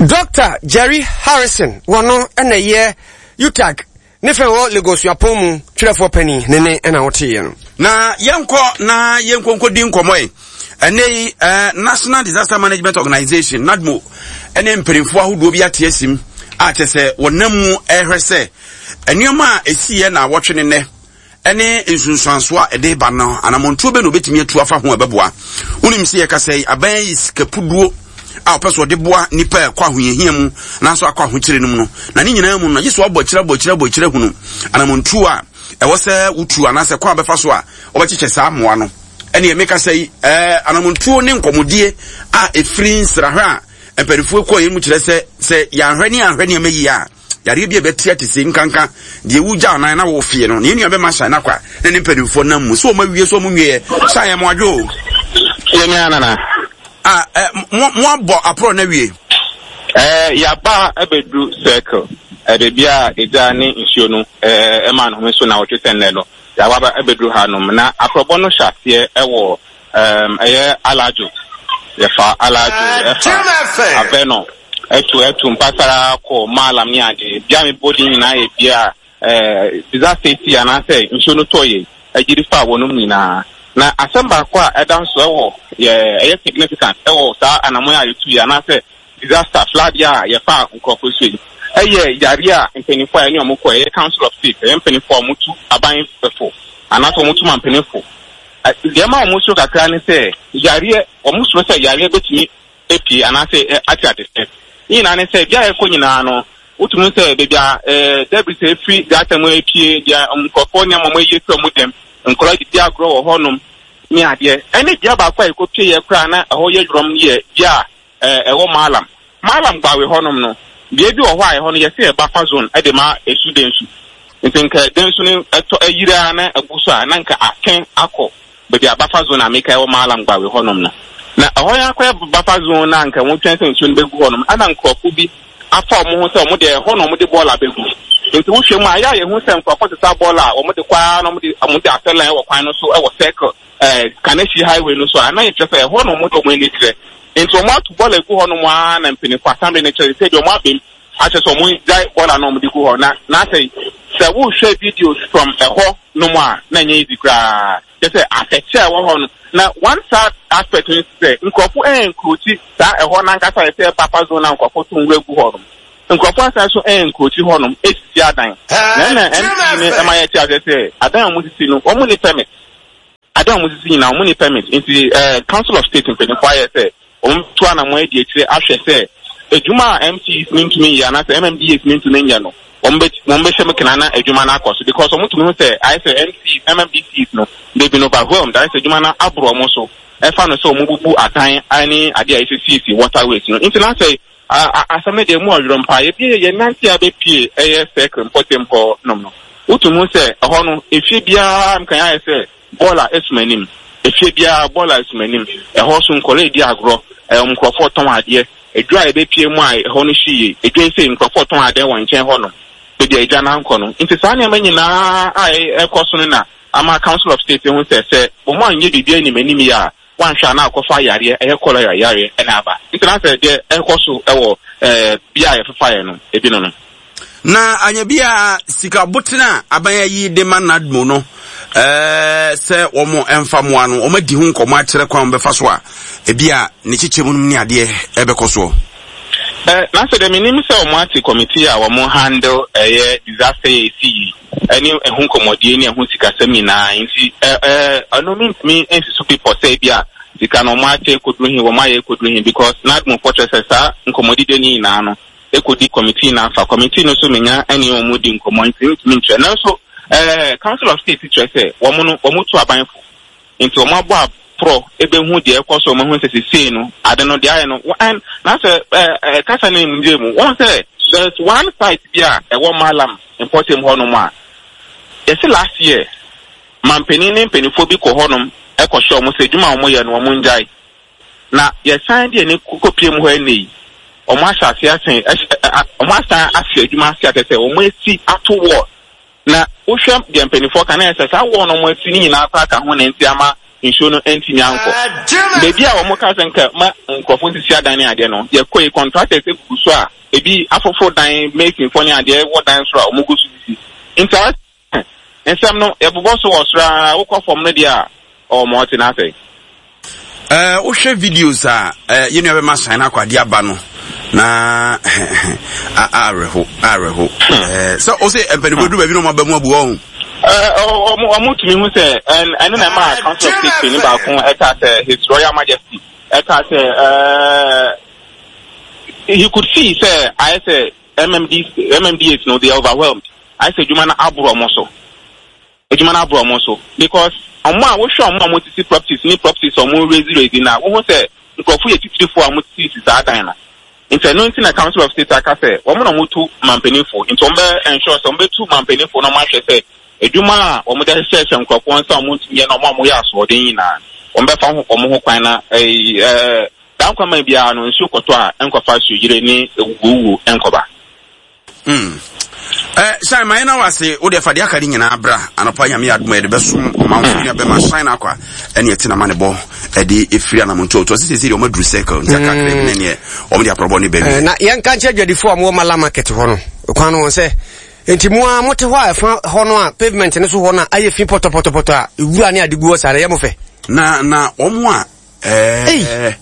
Doctor Jerry Harrison, wɔno ɛna ɛyɛ UTAG ne fɛn wɔ Legon suapɔn mu twerɛfoɔ panin ne ne ɛna woteeɛ no. Na yɛnkɔ na yɛnkɔ nkɔdi nkɔmmɔ yi. Ɛnɛ yi eh, National Disaster Management Organization, NADMO, ɛne mpanimfoɔ ahodoɔ bi ate asim a kyɛ sɛ wɔnam mu ɛrehwɛ sɛ nneɛma a ɛsiiɛ na wɔtwe ne nnɛ ɛne nsunsuansoɔ a ɛde ba no, anammɔntuo bɛ na obɛtumi atu afa ho a ɛbɛboa. Wonim sɛ yɛkasa yi, aban yi sikapuduo a ɔpɛ so ɔde boa nipa a ɛkɔ ahohiahia mu nanso akɔ ahokyere no mu no, na ne nyinaa mu no, gye so abɔ akyire, abɔ akyire, abɔ akyire hunu anammɔntuo a ɛwɔ sɛ wotu anaasɛ kwan a bɛfa so a wɔbɛkyekyɛ saa mmoa no. Ɛne ɛmeka sɛ yi ɛɛ anammɔntuo ne nkɔmmɔdie a ɛfiri nsrahwɛ a mpanimfoɔ kɔɔ yɛn mu kyerɛ sɛ sɛ yɛanhwɛ ne yɛanhwɛ nneɛma yie a, yareɛ bi a ɛbɛte ate se nkanka deɛ wogya anan na wɔfie no. Ne yɛn nua bɛma hyɛn nakwa ne ne mpanimfoɔ nam mu sɛ wɔn awie so wɔn nwieɛ hyɛn yɛn mo adwo o. Yɛn nua nana. A ɛ mo mo abɔ aporɔ na wie. Ɛɛ yaba abɛduru Circle, ɛ beebi a egya ne nsuo no ɛɛ ɛma ne ho so na wɔtwe sɛ nnɛ no yaba abɛduru hanom. Na aporɔbɔ no hyɛ aseɛ ɛwɔ ɛɛm ɛyɛ Alajo. Yɛfa Alajo, ɛfa Avenor, ɛtu ɛtu mpasara kɔ Maalam ne ade bia mi bɔ din nyinaa yɛ bia ɛɛ disaster ti anaasɛ nsuo no tɔ yɛ agyiri fa wɔnom nyinaa. Na asɛm baako a ɛda nso ɛwɔ yɛ ɛyɛ significant ɛwɔ saa anamɔ a yɛtu yɛ anaasɛ disaster flood a yɛfa nkurɔfoɔ so yi ɛyɛ yare a mpanimfoɔ a ɛne ɔmo kɔ ɛyɛ Council of State, ɛyɛ mpanimfoɔ a ɔmo tu aban fo anaasɛ ɔmo tu ma mpanimfo. Deɛ ma ɔmo soro kakra ne sɛ yareɛ, ɔmo soro sɛ yareɛ bɛtumi epie anaasɛ ate ate sɛ ne nyinaa ne sɛ bia yɛkɔ nyinaa no, wotumi sɛ beebi a ɛɛ debris efiri gutter mu epie, deɛ nkurɔfoɔ nneɛma ɔmo ayi efiri ɔmo dɛm, nkɔla didi agorɔ wɔ hɔnom ne adeɛ. Ɛne bea baako a yɛkɔpie yɛ koraa na ɛhɔ yɛ dwom yɛ bea a ɛɛ ɛwɔ Malam Malam Gbawe hɔnom no. Bea bi wɔ hɔ a ɛhɔ no yɛsɛ yɛ buffer zone ɛde ma esu densu, nti nka densu no ɛtɔ ɛyiri a na ɛbu so a, na nka atwɛn akɔ baabi a buffer zone a meka ɛwɔ Malam Gbawe hɔnom no. Na ɛhɔ yɛn akɔyɛ buffer zone na nka wɔn twɛn sɛ nsuo no bɛgu hɔnom, ɛna nkurɔfo bi afa wɔn ho sɛ wɔn deɛ ɛhɔ na wɔn de bɔɔla bɛgu. Nti wohwɛ mu a, ayɛ a yɛhu sɛ nkurɔfo sesa bɔɔla a wɔn de kɔ ara na wɔn de wɔn de asɛ line wɔ kwan no so ɛwɔ Circle ɛɛ Kaneshie highway no so a, na yɛkyerɛ sɛ ɛhɔ na wɔn de wɔn ani kyerɛ. Nti wɔn ato bɔɔla egu hɔnom ara na mpanyinfo assembly no kyerɛ sɛ deɛ wɔn abɛm akyerɛ sɛ wɔn gyae bɔɔla na wɔn de gu hɔ. Na n'asɛ sɛ wohwɛ videos from ɛhɔ nom a, na nyɛ easy koraa, kyerɛ sɛ atɛkyɛ a ɛwɔ hɔ no. Na one sad aspect no sɛ nkurɔfo ɛnkurokyi saa ɛhɔ nankasa yɛ sɛ buffer zone na nkurɔfo to nwura gu hɔ nom, nkurɔfo asan so ɛnkurokyi hɔ nom esisi adan. Na ɛna M C no ɛma yɛ te aseɛ sɛ adan a wɔn sisi no, wɔn ni permit. Adan a wɔn sisi nyinaa, wɔn ni permit. Nti ɛɛ Council of State mpanyinfoɔ ayɛ sɛ wɔn to anamɔ adi akyire ahwɛ sɛ adwuma a M C Es ne ntumi yɛ anaasɛ M M D As ne ntumi nyɛ no, wɔn bɛ wɔn bɛhyɛ mu kena na adwuma no akɔ so, because wɔn tumi ho sɛ ayɛ sɛ M C Es, M M D C Es no, they been overwhelmed, ayɛ sɛ adwuma no aboro wɔn so, ɛfa no sɛ wɔn bubu adan ne adeɛ a yɛsɛ waterways no. Nti na sɛ asɛm no deɛ mu ɔwerɛ mpa yɛbie yɛ nante a bɛpie ɛyɛ Circle mpɔtam hɔ nom no, wotumi ho sɛ ɛhɔ no efie biara nkan ayɛ sɛ bɔɔla esum anim, efie biara bɔɔla esum anim. Ɛhɔ so nkɔla edi agorɔ, ɛɛ nkurɔfoɔ tɔn adeɛ. Edwa a yɛbɛpie mu a ɛhɔ no hyi yie, edwa yi sɛ nkurɔfoɔ tɔn adeɛ wɔ nkyɛn hɔ nom beebi a edwa n'ankɔ no. Nti saa nneɛma nyinaa a ɛkɔ so no na ama Council of State ho sɛ sɛ wɔn anyɛ biribi anim anim yie a, wanhwɛ a na akɔfa yareɛ, ɛyɛ cholera yareɛ ɛna aba. Nti na sɛ deɛ ɛkɔ so ɛwɔ ɛɛ bea a yɛfefa yɛ no ebi no no. Na anya bi a sika botene a aban ayi de ma NADMO no ɛɛ sɛ wɔn mfa mmoa no, wɔn adi ho nkɔmɔ akyerɛ kwan wɔn bɛfa so a ebi a ne kyekyɛ mu ne adeɛ ɛbɛkɔ soɔ. Ɛ na sɛ deɛ menim sɛ wɔn ate committee a wɔn handle ɛyɛ disaster yɛ esi yi ɛne ɛho nkɔmɔdie ne ɛho sikasɛm nyinaa. Nti ɛ ɛ ɛno mintumi nsi so pipɔ sɛ ebi a sika no wɔn akyɛ ekoduru hin, wɔn ayɛ ekoduru hin, because NADMO fɔ kyerɛ sɛ saa nkɔmɔdie ne nyinaa no ekodi committee na afa committee no so menya ɛne wɔn di nkɔmɔ, nti ntumi nkyerɛ. Nanso ɛɛ Council of State kyerɛ sɛ wɔn no wɔn tu abanfo, nti wɔn abɔ aporɔ ebehu deɛ ɛkɔ so. Wɔn ahu sɛ sesei no ade no deɛ ayɛ no ɛn na sɛ ɛɛ ɛɛ kasa no mu gye mu wɔn sɛ there is one site bi a ɛwɔ Malam mpɔtam hɔnom a yɛsi last year mampanin ne mpanimfoɔ bi kɔ hɔnom ɛkɔhyɛ wɔn sɛ adwuma a wɔn yɛ no wɔn ngyae, na yɛsan deɛ ne kɔpie mu hɔ ɛnɛ yi, wɔn ahyɛ ase asen ɛhyɛ wɔn asan afi adwuma ase atɛ sɛ wɔn esi ato wall. Na wohwɛ deɛ mpanimfoɔ ka na yɛ sɛ saa wall no wɔn asi ne nyinaa koraa ka ho na nti ama nsuo no ntumi ankɔ beebi a wɔn ka sɛ nka ma nkurɔfoɔ sisi adan ne adeɛ no. Yɛkɔ yi, contractors egugu so a ebi afoforo dan, masonfoɔ ne adeɛ wɔ dan soro a wɔn gu so sisi. Nti ayɛ nsɛm no yɛbobɔ so wɔ soro a, wokɔ fam no deɛ a ɔwɔ ma ɔte n'asɛ. ɛɛ wohwɛ videos a ɛɛ yɛn nua bɛma san akɔ adeɛ aba no na awerɛho awerɛho ɛɛ sɛ ɔsɛ mpanimfoɔ duru baabi na ɔmo aba mu abu wɔn. ɔmo ɔmo tumi hu sɛ ɛne na ɛma Council of State panyin baako ɛka sɛ His Royal Majesty ɛka sɛ ɛɛ he could see sɛ ayɛ sɛ M M D M M D As no, they are overwhelmed, ayɛ sɛ adwuma no aboro ɔmo so, adwuma no aboro ɔmo so, because ɔmo a wohwɛ ɔmo a ɔmo sisi properties ne properties a ɔmo raise raise na wohu sɛ nkurɔfo yɛ titirifoɔ a ɔmo sisi saa dan no. Nti ɛno nti na Council of State aka sɛ wɔn na wɔn tu mampanimfo, nti wɔn bɛ ensure sɛ wɔn bɛ tu mampanimfo na wɔn ahwɛ sɛ adwuma a wɔn de ahyehyɛ nkurɔfoɔ nsa a wɔn ntumi yɛ na wɔn a wɔyɛ asoɔden nyinaa, wɔn bɛfa ho wɔn ho kwan na ɛyi ɛɛ dan kwan biara no nsuo kɔtɔ a nkɔfa suyire ne ewuowuo nkɔba. Mm. Eh, Shine, ma yɛn wase wo deɛ fa deɛ aka ne nyinaa bra anɔpa. Nyame adom a yɛde bɛsom ɔmanfo nua bɛma Shine akɔ a ɛne ɛte nama ne bɔ ɛde ɛfiri anamonto to ɔsɛ sɛsɛ deɛ ɔma duru Circle nti aka kakra bi ne neɛ ɔmo de aprɔbɔ ne baabi. Eh, na yɛnka nkyerɛ adwadifoɔ a mowɔ Mala Market hɔ no kwan no wɔn sɛ nti mo a mote hɔ a ɛfa hɔ no a pavement no so hɔ no a ayɛ fi pɔtɔpɔtɔpɔtɔ a ewura ne ade gu hɔ saa no ɛyɛ mo fɛ. Na na ɔmo a ɛɛ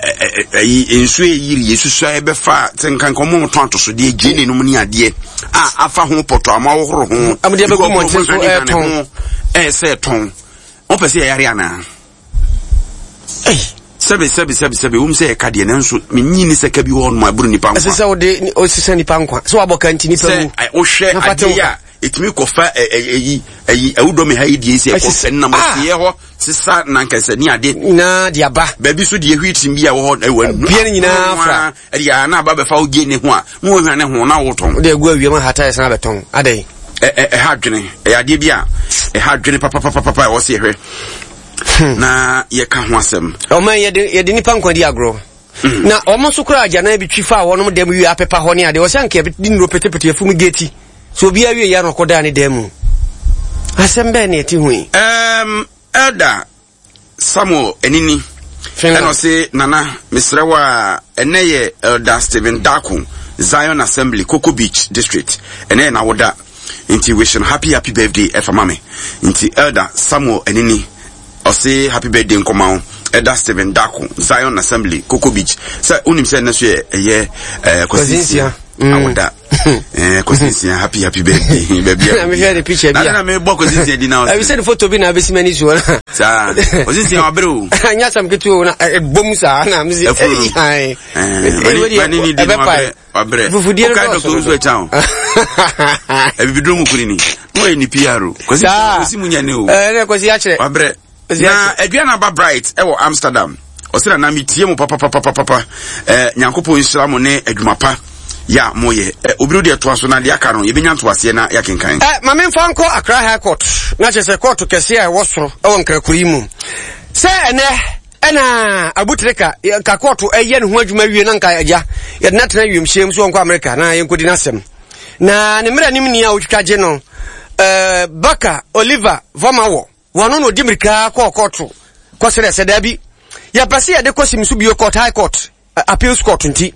ɛyi nsuo yiri yɛsusua ɛbɛfa sɛ nkanka ɔmo tɔn atosodeɛ gyeene nom ne adeɛ a afa ho pɔtɔ ama ahohoro ho Amode abɛgu mmɔnten so ɛɛtɔn. Ɛsɛ ɛtɔn wɔn pɛ sɛ yɛyare anaa? Sɛbi sɛbi sɛbi sɛbi, wɔn sɛ yɛka deɛ, nanso menyi ni sɛ ka bi wɔ hɔ nom a ɛboro nipa nkwa. Ɛsɛ sɛ wode osisa nipa nkwa sɛ wabɔ ka nti nipa sɛ wu. Ɛ, wohwɛ Na fa te adeɛ wo yi a ɛtumi kɔfa ɛ, ɛ, ɛyi ɛyi awudɔmi ha yi deɛ sɛ Ɛsisi- ɛkɔfɛ nam Ah! ɔteɛ hɔ sisa nankɛsɛ ne ade nyinaa de aba. Baabi so deɛ hwii bi a ɛwɔ hɔ ɛwɔ Bia no nyinaa fra. Ɛde a na aba bɛfa wo gye ne ho a na wɔhwɛ ne ho na wotɔn. Wode agu awiam ahata yɛ san abɛtɔn adɛn? Ɛ- ɛ- ɛha adwene, ɛyɛ adeɛ bi a ɛha adwene papapapapa a ɛwɔ sɛ yɛhwɛ na yɛka ho asɛm. Ɔman yɛde yɛde nipa nkwa di agorɔ na ɔmo nso koraa agyanan bi twi fa a wɔnom dɛm wie apepa hɔ ne adeɛ ɔsɛ anka yɛde nnuro petepete afum geti so obiara wie yɛ no ɔkɔdaa ne dan mu. Asɛm bɛɛ ne ɛte ho yi? um, elder Samuel Anini Finland. Ɛna ɔse, "Nana, mesrɛ wo a, ɛnɛ yɛ Elder Stephen Dako, Zion Assembly, Coco Beach District, ɛnɛ yɛ n'awoda, nti wish no happy happy birthday ɛfa ma me." Nti Elder Samuel Anini ɔse happy birthday nkɔma wo, Elder Stephen Dako, Zion Assembly, Coco Beach. Sɛ wonim sɛ ɛnɛ so yɛ ɛyɛ ɛɛ Kwasi Nsia Mm. awoda. ɛɛ Kwasi Nsia, happy happy birthday baabi a Na mehwɛ ne picture bi a. na na mebɔ Kwasi Nsia di na ɛbi sɛ ne photo bi na abɛsi m'ani soɔ na saa Kwasi Nsia wabere o. Nyɛ asɛm ketewa o, na ɛ- ɛbɔ mu saa na mese Ɛfuru no. ɛyi, ae. Eh, Ɛyi, bani- wei deɛ, bani ni di no ɛbɛpae. wabrɛ wabrɛ. Fufudie no Wokae dɔɔso Doctor Owusu dodo. Akya o, abibiduro mu kuni ni na ɔyɛ ne P R o. Kwasi Saa. Kwasi mu nya ne o. Ɛɛ, ne Kwasi akyerɛ. Wabrɛ. Kwasi Na akyerɛ. Aduana Aba Bright ɛwɔ Amsterdam ɔsɛ, "Nana, metie mo papapapapapa. ɛɛ Nyankopɔn nhyira mo ne adwuma pa yɛ a moyɛ." ɛ obi no deɛ toa so na deɛ aka no yɛbɛnya ntoaseɛ na yɛakenkan. Ɛ ma memfa nkɔ Accra High Court, na kyerɛ sɛ kɔɔto kɛseɛ a ɛwɔ soro ɛwɔ Nkrakuro yi mu sɛ ɛnɛ ɛna Abutirika nka kɔɔto ɛyɛ ne ho adwuma wie na nka agya yɛde no atena wiemhyɛm so wɔnkɔ Amerika na yɛnkɔdi n'asɛm na ne mmerɛ nim ni a wotwitwa gye no. ɛɛ Baka Oliver Vɔmawɔ wɔno na ɔdi mmirika kɔɔ kɔɔto kɔsrɛ sɛ daabi, yɛpɛ sɛ yɛde kɔ sim so bio court, high court, ɛ, appeals court, nti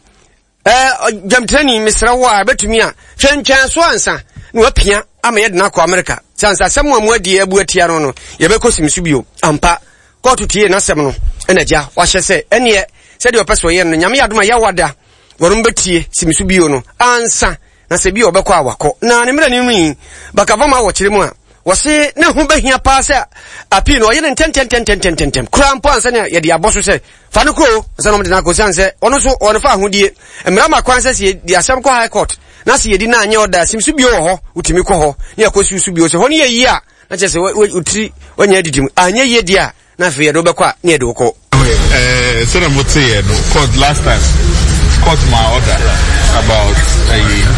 ɛɛ gyamtirani mesrɛ wo a ɛbɛtumi a twɛntwɛn so ansa na wapia ama yɛde no akɔ Amerika sɛ ansa asɛm a mu adi abu atia no no yɛbɛkɔ sim so bio. Ampa, kɔɔto tie n'asɛm no ɛna gya wahyɛ sɛ ɛneɛ sɛdeɛ ɔpɛ sɛ ɔyɛ no, Nyame yɛ adom a yɛwada wɔnom bɛtie sim so bio no ansa na sɛ bi a ɔbɛkɔ a wakɔ. Na ne mmerɛ no mu yi bakavama wɔ kyerɛ mu a wɔse ne ho bɛhia paa sɛ appeal no ɔyɛ no ntɛntɛntɛntɛntɛntɛm koraa mpo ansa ne yɛde abɔ so sɛ fa no kuro ansa na ɔmde no akɔ, siane sɛ ɔno nso ɔno fa ahodie mmara ma kwan sɛ sɛ yɛde asɛm kɔ high court na sɛ yɛdi na anyɛ ɔda sim so bio wɔ hɔ, wotumi kɔ hɔ ne yɛkɔ siw so bio sɛ hɔ no yɛ yie a, na kyerɛ sɛ wo- wo- wotiri wanya adidi mu anyɛ yie deɛ a, na afei yɛde wobɛkɔ a ne yɛde wokɔ. Uh, sɛdeɛ moteeɛ no, court last time court ma order about uh,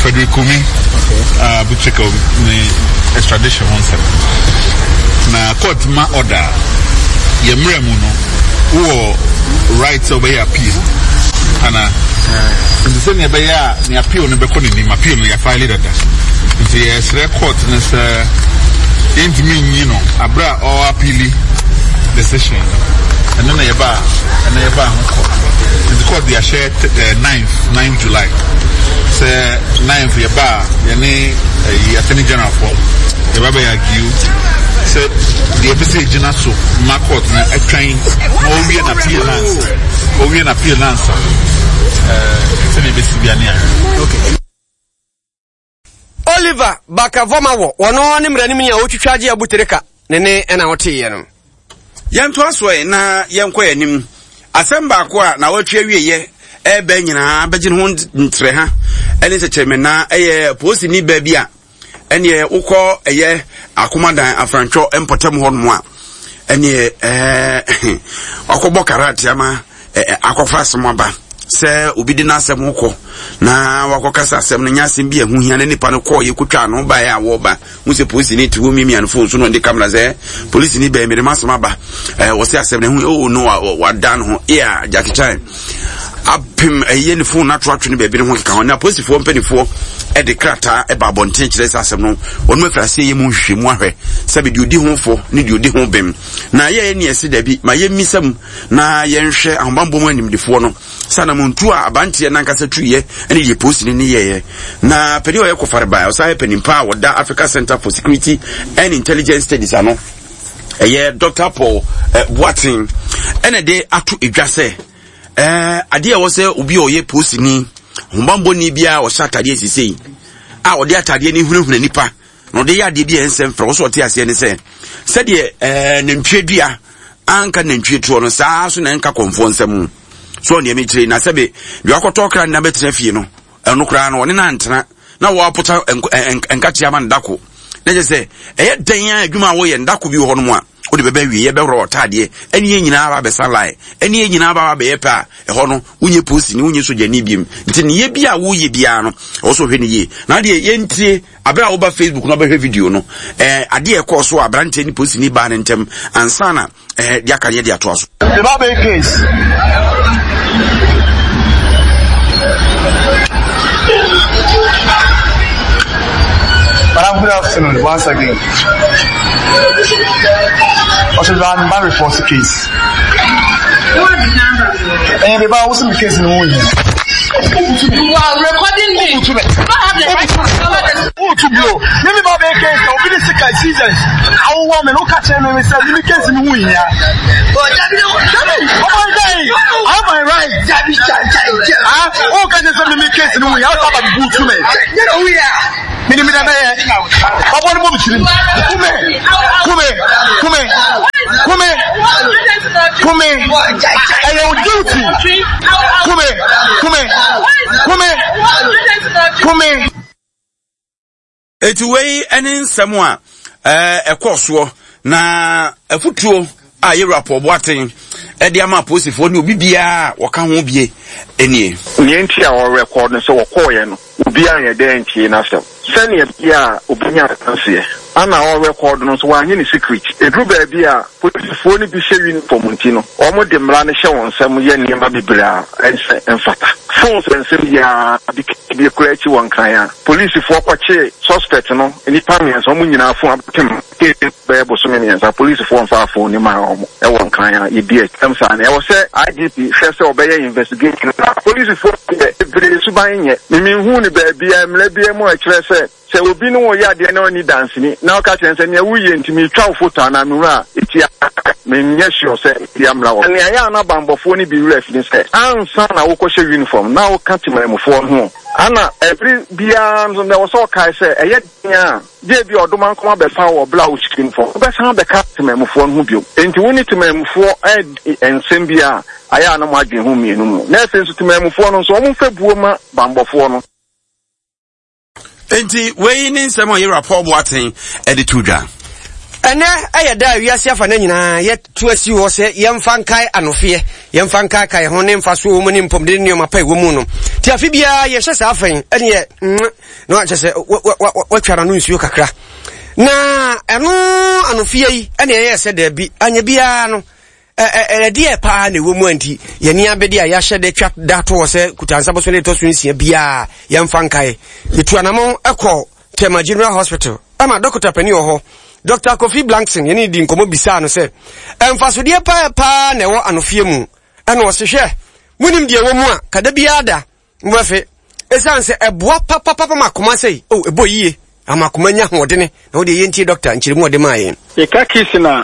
Frederick Kumi uh, Abu Trica ne extradition ho nsɛm. Na court ma order a, yɛ mmerɛ mu no wowɔ right sɛ wobɛyɛ appeal ana nti sɛnea ɛbɛyɛ a ne appeal no bɛkɔ n'anim. Appeal no yɛafile dada, nti yɛsrɛ court no sɛ yɛntumi nyi no aberɛ a ɔwɔ appeal decision no. Ɛno na yɛba ɛna yɛba ho court, nti court de ahyɛ eh, ninth ninth July sɛ ninth yɛba a yɛne ɛyi Attorney General fo yɛba bɛyɛ argue sɛ deɛ ɛpɛ sɛ yɛgyina so ma court no ɛtwɛn na ɔwie na appeal nansa ɔwie na appeal nansa ɛɛ sɛdeɛ ɛbɛsi bia ne ahwɛ. Oliver Bakavɔma wɔ wɔno ne mmerɛ no mu ni a wotwitwa agye Abutereka ne ne ɛna woteeɛ no. Yɛntoa so ɛ na yɛnkɔ yɛn anim. Asɛm baako a na wɔatwe awieyɛ ɛbɛ nyinaa bɛgye ne ho ntrɛ ha ɛne sɛkyerɛmɛna ɛyɛ polisini baa bi a ɛneɛ wokɔ ɛyɛ Akomadan Afrantwɔ mpɔtam hɔ nom a ɛneɛ ɛɛ wakɔbɔ karate ama ɛɛ akɔfa asɛm aba sɛ obi de n'asɛm kɔ na wakɔkasa asɛm no nyɛ asɛm bi a ɛho hia na nipa no kɔɔ yɛ kotwa ano baeɛ a wɔreba hu sɛ polisini te hɔ miamia no phone so na ɔde camera sɛ polisini bɛn mede m'asɛm aba. ɛɛ wɔsɛ asɛm no ɛho oh no, wada no ho yeah Jackie Chan apem ɛyɛ ne phone ato atwe ne baabi ne ho keka ho na polisifoɔ mpanimfoɔ ɛde krataa ɛba abɔnten kyerɛ sɛ asɛm no wɔn afiri aseɛ yɛ mu nhwehwɛmu ahwɛ sɛbi deɛ odi ho fɔ ne deɛ odi ho bem na yɛyɛ ne ɛsi dabi ma yɛmmisa mu na yɛnhwɛ ahobanbɔ mu animdefoɔ no sɛ anamontu a abanteɛ nankasa tuyɛ ne deɛ polisini ne yɛyɛ. Na panin a ɔyɛ kɔfare baa ɔsan yɛ panin pa a wɔda Africa Center for Security and Intelligence Studies ano, ɛyɛ Doctor Paul eh, Boateng, ɛna de ato edwa sɛ Ɛɛ adeɛ a ɛwɔ sɛ obi a ɔyɛ polisini, ahobammɔni biara a ɔhyɛ atadeɛ sisei a ɔde atadeɛ no hunahuna nipa na ɔde yɛ adeɛ bi a ɛnsɛ mfra wɔ sɛ ɔte aseɛ ne sɛ sɛdeɛ ɛɛ nantwie dua anka nantwie toɔ no saa so na ɛnka kɔnfoɔ nsam so ɔnneɛma akyire na sɛbe deɛ wakɔtɔ kra nna bɛtena fie no ɛno koraa no ɔne no antena na wɔapota nkakyea ama no dako na kyerɛ sɛ ɛyɛ dɛn a adwuma a wɔyɛ ndako bi wɔ hɔnom a wode bɛbɛ awie yɛbɛworɔ ɔtaadeɛ ɛne yɛn nyinaa ba bɛsa line ɛne yɛn nyinaa ba bɛyɛ pɛ a ɛhɔ no wonyɛ posini wonyɛ sogyani biem nti ne yɛ bi a woyɛ biara no ɛwɔ sɛ ɔhwɛ no yie na adeɛ yɛntie abere a woba Facebook no abɛhwɛ video no ɛɛ adeɛ ɛkɔɔ so a aberanteɛ ne posini baa ne ntɛm ansa na ɛɛ de aka ne de atoa so. The Babel case. Madam, good afternoon once again. Also, I'm back report the case. Eh, baby, I was in the case in the morning. You are recording me. You don't have the right to cover this. Wotu blow. Me me ba bɛ case na obi de sika seasons. Awo wa me no ka kyerɛ me me sɛ me case no ho hia. Dabi, ɔmo n dɛ I have my right. Dabi, ah, o ka kyerɛ sɛ me me case no ho hia. Ɔsa ba bu tu me. Me ni me da bɛyɛ. Ɔbɔ ne bɔ mi tirim. Kume, kume, kume, kume, kume. Ɛyɛ o duty. Kume, kume, kume, kume. Eti wei ne nsɛm a ɛkɔɔ soɔ na afutuo a yɛwura Paul Boateng de ama apolisifoɔ ne obi biara a wɔka ho bie nie. Nea enti a ɔrekɔd no sɛ wɔkɔeɛ no, obiara anyɛ dɛn antie n'asɛm. Sɛnea ɛbɛyɛ a obenya adanseɛ. Ana ɔrekɔd no nso, wanyɛ no secret. Ɛduru baabi a, polisifoɔ no bi hyɛ uniform nti no, wɔde mmara no hyɛ wɔn nsam yɛ nneɛma bebree a ɛnsɛ mfata. Phones nsɛm yi ara, bi bi koraa akyi wɔ Nkran a, polisifoɔ kɔkyee suspect no, nnipa mmiɛnsa, wɔn nyinaa phone abɛpem case no bɛyɛ bosome mmiɛnsa, polisifoɔ mfaa phone no mmaa wɔn wɔ Nkran a yɛdi akyɛm saa no. Ɛwɔ sɛ I G P hwɛ sɛ ɔbɛyɛ investigation na polisifoɔ deɛ bebree suban nyɛ. Me menhuu no baabiara, mmara biara mu a ɛkyerɛ sɛ sɛ obi ne wo yɛ adeɛ na ɔnni danseni na ɔka kyerɛ no sɛ nea woreyɛ nti meretwa wo foto anaa mehunu a ɛtia, menyɛ sure sɛ ɛtia mmara wɔ. Nea ɛyɛ a na banbɔfoɔ no bi werɛ afi ne sɛ ansa na wokɔhyɛ uniform na woka temanmufoɔ no ho ana ɛbere biara nso na ɛwɔ sɛ ɔkae sɛ ɛyɛ den a gye bi ɔdomankoma bɛfa wo wɔ bere a wohyɛ uniform wobɛsan abɛka temanmufoɔ no ho bio. Enti wo ne temanmufoɔ adi nsɛm bi a ayɛ a na mo adwene ho mmienu mu. Na afei nso temanmufoɔ no nso wɔmfa buo ma banbɔfoɔ no. Enti wei ne nsɛm a yɛwura Paul Boateng de to dwa. Ɛnɛ ɛyɛ da a wiase afa no nyinaa yɛto asi hɔ sɛ yɛmfa nkae anofeɛ, yɛmfa nkaekae ho ne mfasoɔ wɔ mu ne mpɔmuden ne nneɛma pa ɛwɔ mu no. Nti afe biara yɛhyɛ saa afɛn ɛneɛ na wakyɛ sɛ watwa n'ano nsuo kakra. Na ɛno anofeɛ yi ɛne ɛyɛ sɛ daabi anyɛ biara no ɛdeɛ paa na ɛwɔ mu a nti yɛne abɛde a yɛahyɛ de twa da to hɔ sɛ kutansa boso ne ɛtɔ so nsia biara yɛmfa nkae. Yɛtu anamɔn ɛkɔ Tema General Hospital ɛma dɔkota panin wɔ hɔ, Doctor Kofi Blankson, yɛne di nkɔmmɔ bisaa no sɛ ɛmfasodeɛ paa paa na ɛwɔ anofeɛ mu. Ɛna ɔse hwɛ, monim deɛ ɛwɔ mu a kada biara da mobɛfe, ɛsiane sɛ ɛboa papapapa ma akoma sɛi o ɛbɔ yie ama akoma nya ahoɔdene. Na wode yɛntie dɔkta nkyerɛmu ɔde maa yɛn. Yɛka kissing a,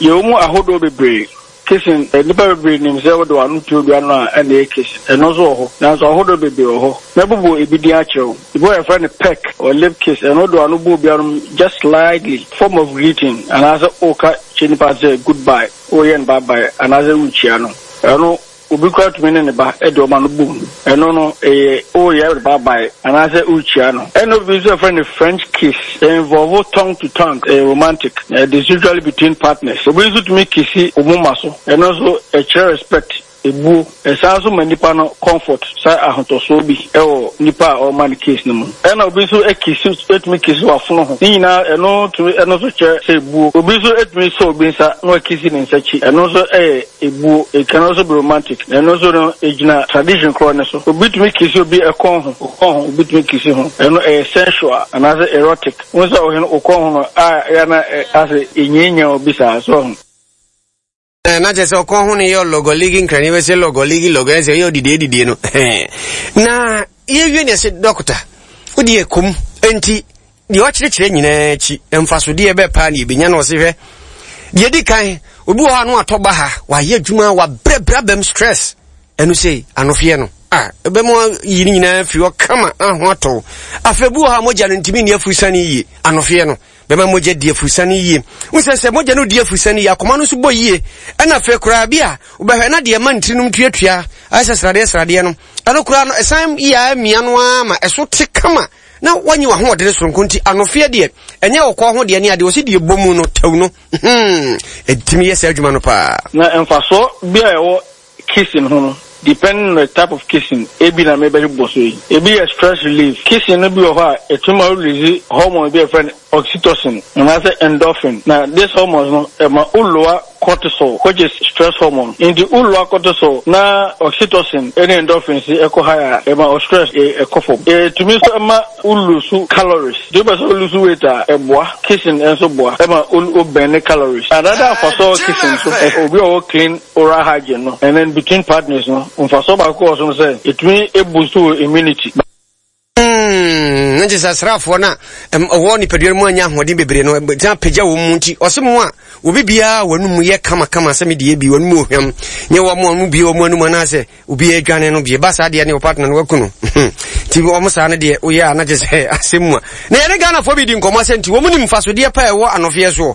yɛwɔ mu ahodoɔ bebree. Kissing, nnipa bebree nim sɛ wode w'ano to obi ano a ɛna ɛyɛ kissing. Ɛno nso wɔ hɔ, nanso ahodoɔ bebree wɔ hɔ. Mɛbobɔ ebi din akyerɛ wo. Ebi wɔ hɔ yɛfrɛ no peck or lip kiss. Ɛno wode w'ano bɔ obi ano just slightly, form of greeting, anaasɛ woka kyerɛ nipa sɛ goodbye, woreyɛ no bye bye, anaasɛ worekyia no. Ɛno obi koraa tumi ne ne ba de wɔn ano bom. Ɛno no, ɛyɛ woreyɛ bye bye anaasɛ worekyia no. Ɛna obi nso yɛfrɛ no French kiss. Ɛ involve tongue to tongue. Ɛyɛ romantic. It is usually between partners. Obi nso tumi kissi wo moma so. Ɛno nso ɛkyerɛ respect, ebuo. Ɛsan nso ma nipa no comfort, sɛ ahotɔsoɔ bi ɛwɔ nipa a ɔrema no kiss no mu. Ɛna obi nso kissi, etumi kissi w'afono ho. Ne nyinaa ɛno tumi ɛno nso kyerɛ sɛ ebuo. Obi nso etumi sɔ obi nsa na wakissi ne nsa akyi. Ɛno nso ɛyɛ ebuo. It can also be romantic. Na ɛno nso no egyina tradition korɔ ne so. Obi tumi kissi obi ɛkɔn ho, ɔkɔn ho, obi tumi kissi ho. Ɛno ɛyɛ sensual anaasɛ erotic. Wɔn sɛ ɔhene ɔkɔn ho no a ɛyɛ na asɛ enyianya obi saa so ɔho. Na kyerɛ sɛ ɔkɔn ho no yɛ lɔgɔligi nkrani bɛsɛ lɔgɔligi lɔgɔ sɛ ɛyɛ ɔdidie didie no. Na yɛwie ne ɛsɛ dɔkota wode yɛ kom enti deɛ ɔkyerɛkyerɛ nyinaa akyi mfasodeɛ bɛɛ paa ne yɛbɛnya. No ɔse hwɛ, deɛ di kan, obi wɔ hɔ a no atɔ ba ha, wayɛ adwuma, wabrɛbrɛ bɛm stress Ɛno sei, anofeɛ no, a ɛbɛma yi ne nyinaa firi hɔ kama na ho atɔ wo. Afei bi wɔ hɔ a mogya no ntumi nni afurusane yie, anofeɛ no bɛma mogya di afurusane yie. Wo sɛ sɛ mogya no di afurusane yie, akoma no nso bɔ yie. Ɛna afei koraa bi a wobɛhwɛ na deɛ ɛma ntirinom tuatua ayɛ sɛ sradeɛ sradeɛ no, ɛno koraa no ɛsan yɛ a mia no ara ma ɛso te kama na wanyi w'ahoɔdene soronko. Nti anofeɛ deɛ ɛnyɛ ɔkɔɔ ho deɛ ne adeɛ, ɔsi deɛ bɔ mu no tɛw no, hmm, ɛtumi yɛ saa adwuma no paa. Na mfasoɔ bi a ɛwɔ kissing ho no, depending on the type of kissing, ebi na mebɛbɔ so yi. Ebi yɛ stress relief. Kissing no bi wɔ hɔ a, ɛtumi ma wo release hormone bi a yɛfrɛ no oxytocin anaasɛ endorphin. Na this hormones no, ɛma wo lower cortisol, which is stress hormone. Nti wo lower cortisol na oxytocin ne endorphins yi ɛkɔ high a, ɛma wo stress ɛkɔ fam. Ɛtumi nso ma wo lose calories. Nti wopɛ sɛ wo lose weight a, ɛboa. Kissing nso boa ma wo burn calories. Another mfasoɔ wɔ kissing so, obi a ɔwɔ clean oral hygiene no, and then between partners no, mfasoɔ baako wɔ so no sɛ, ɛtumi boost wo immunity. Mm, nti sɛ asraafoɔ no a ɛwɔ nipadua no mu anya ahoɔden bebree no, ɛtumi apagya wɔn mu. Nti ɔse mo a obi biara wɔn mu yɛ kamakama sɛ medeɛ bi wɔn mu ohwam nyɛ wɔn a wɔn bie wɔn anum anaasɛ obi adwane no bie ba saa deɛ ne ɔpartner no waku no. Nti wɔn saa no deɛ woyɛ a na kyɛ sɛ asɛm mu a na yɛne Ghanafoɔ bi di nkɔmmɔ sɛ nti wɔn nim mfasodeɛ pa ɛwɔ anɔfeɛ soɔ.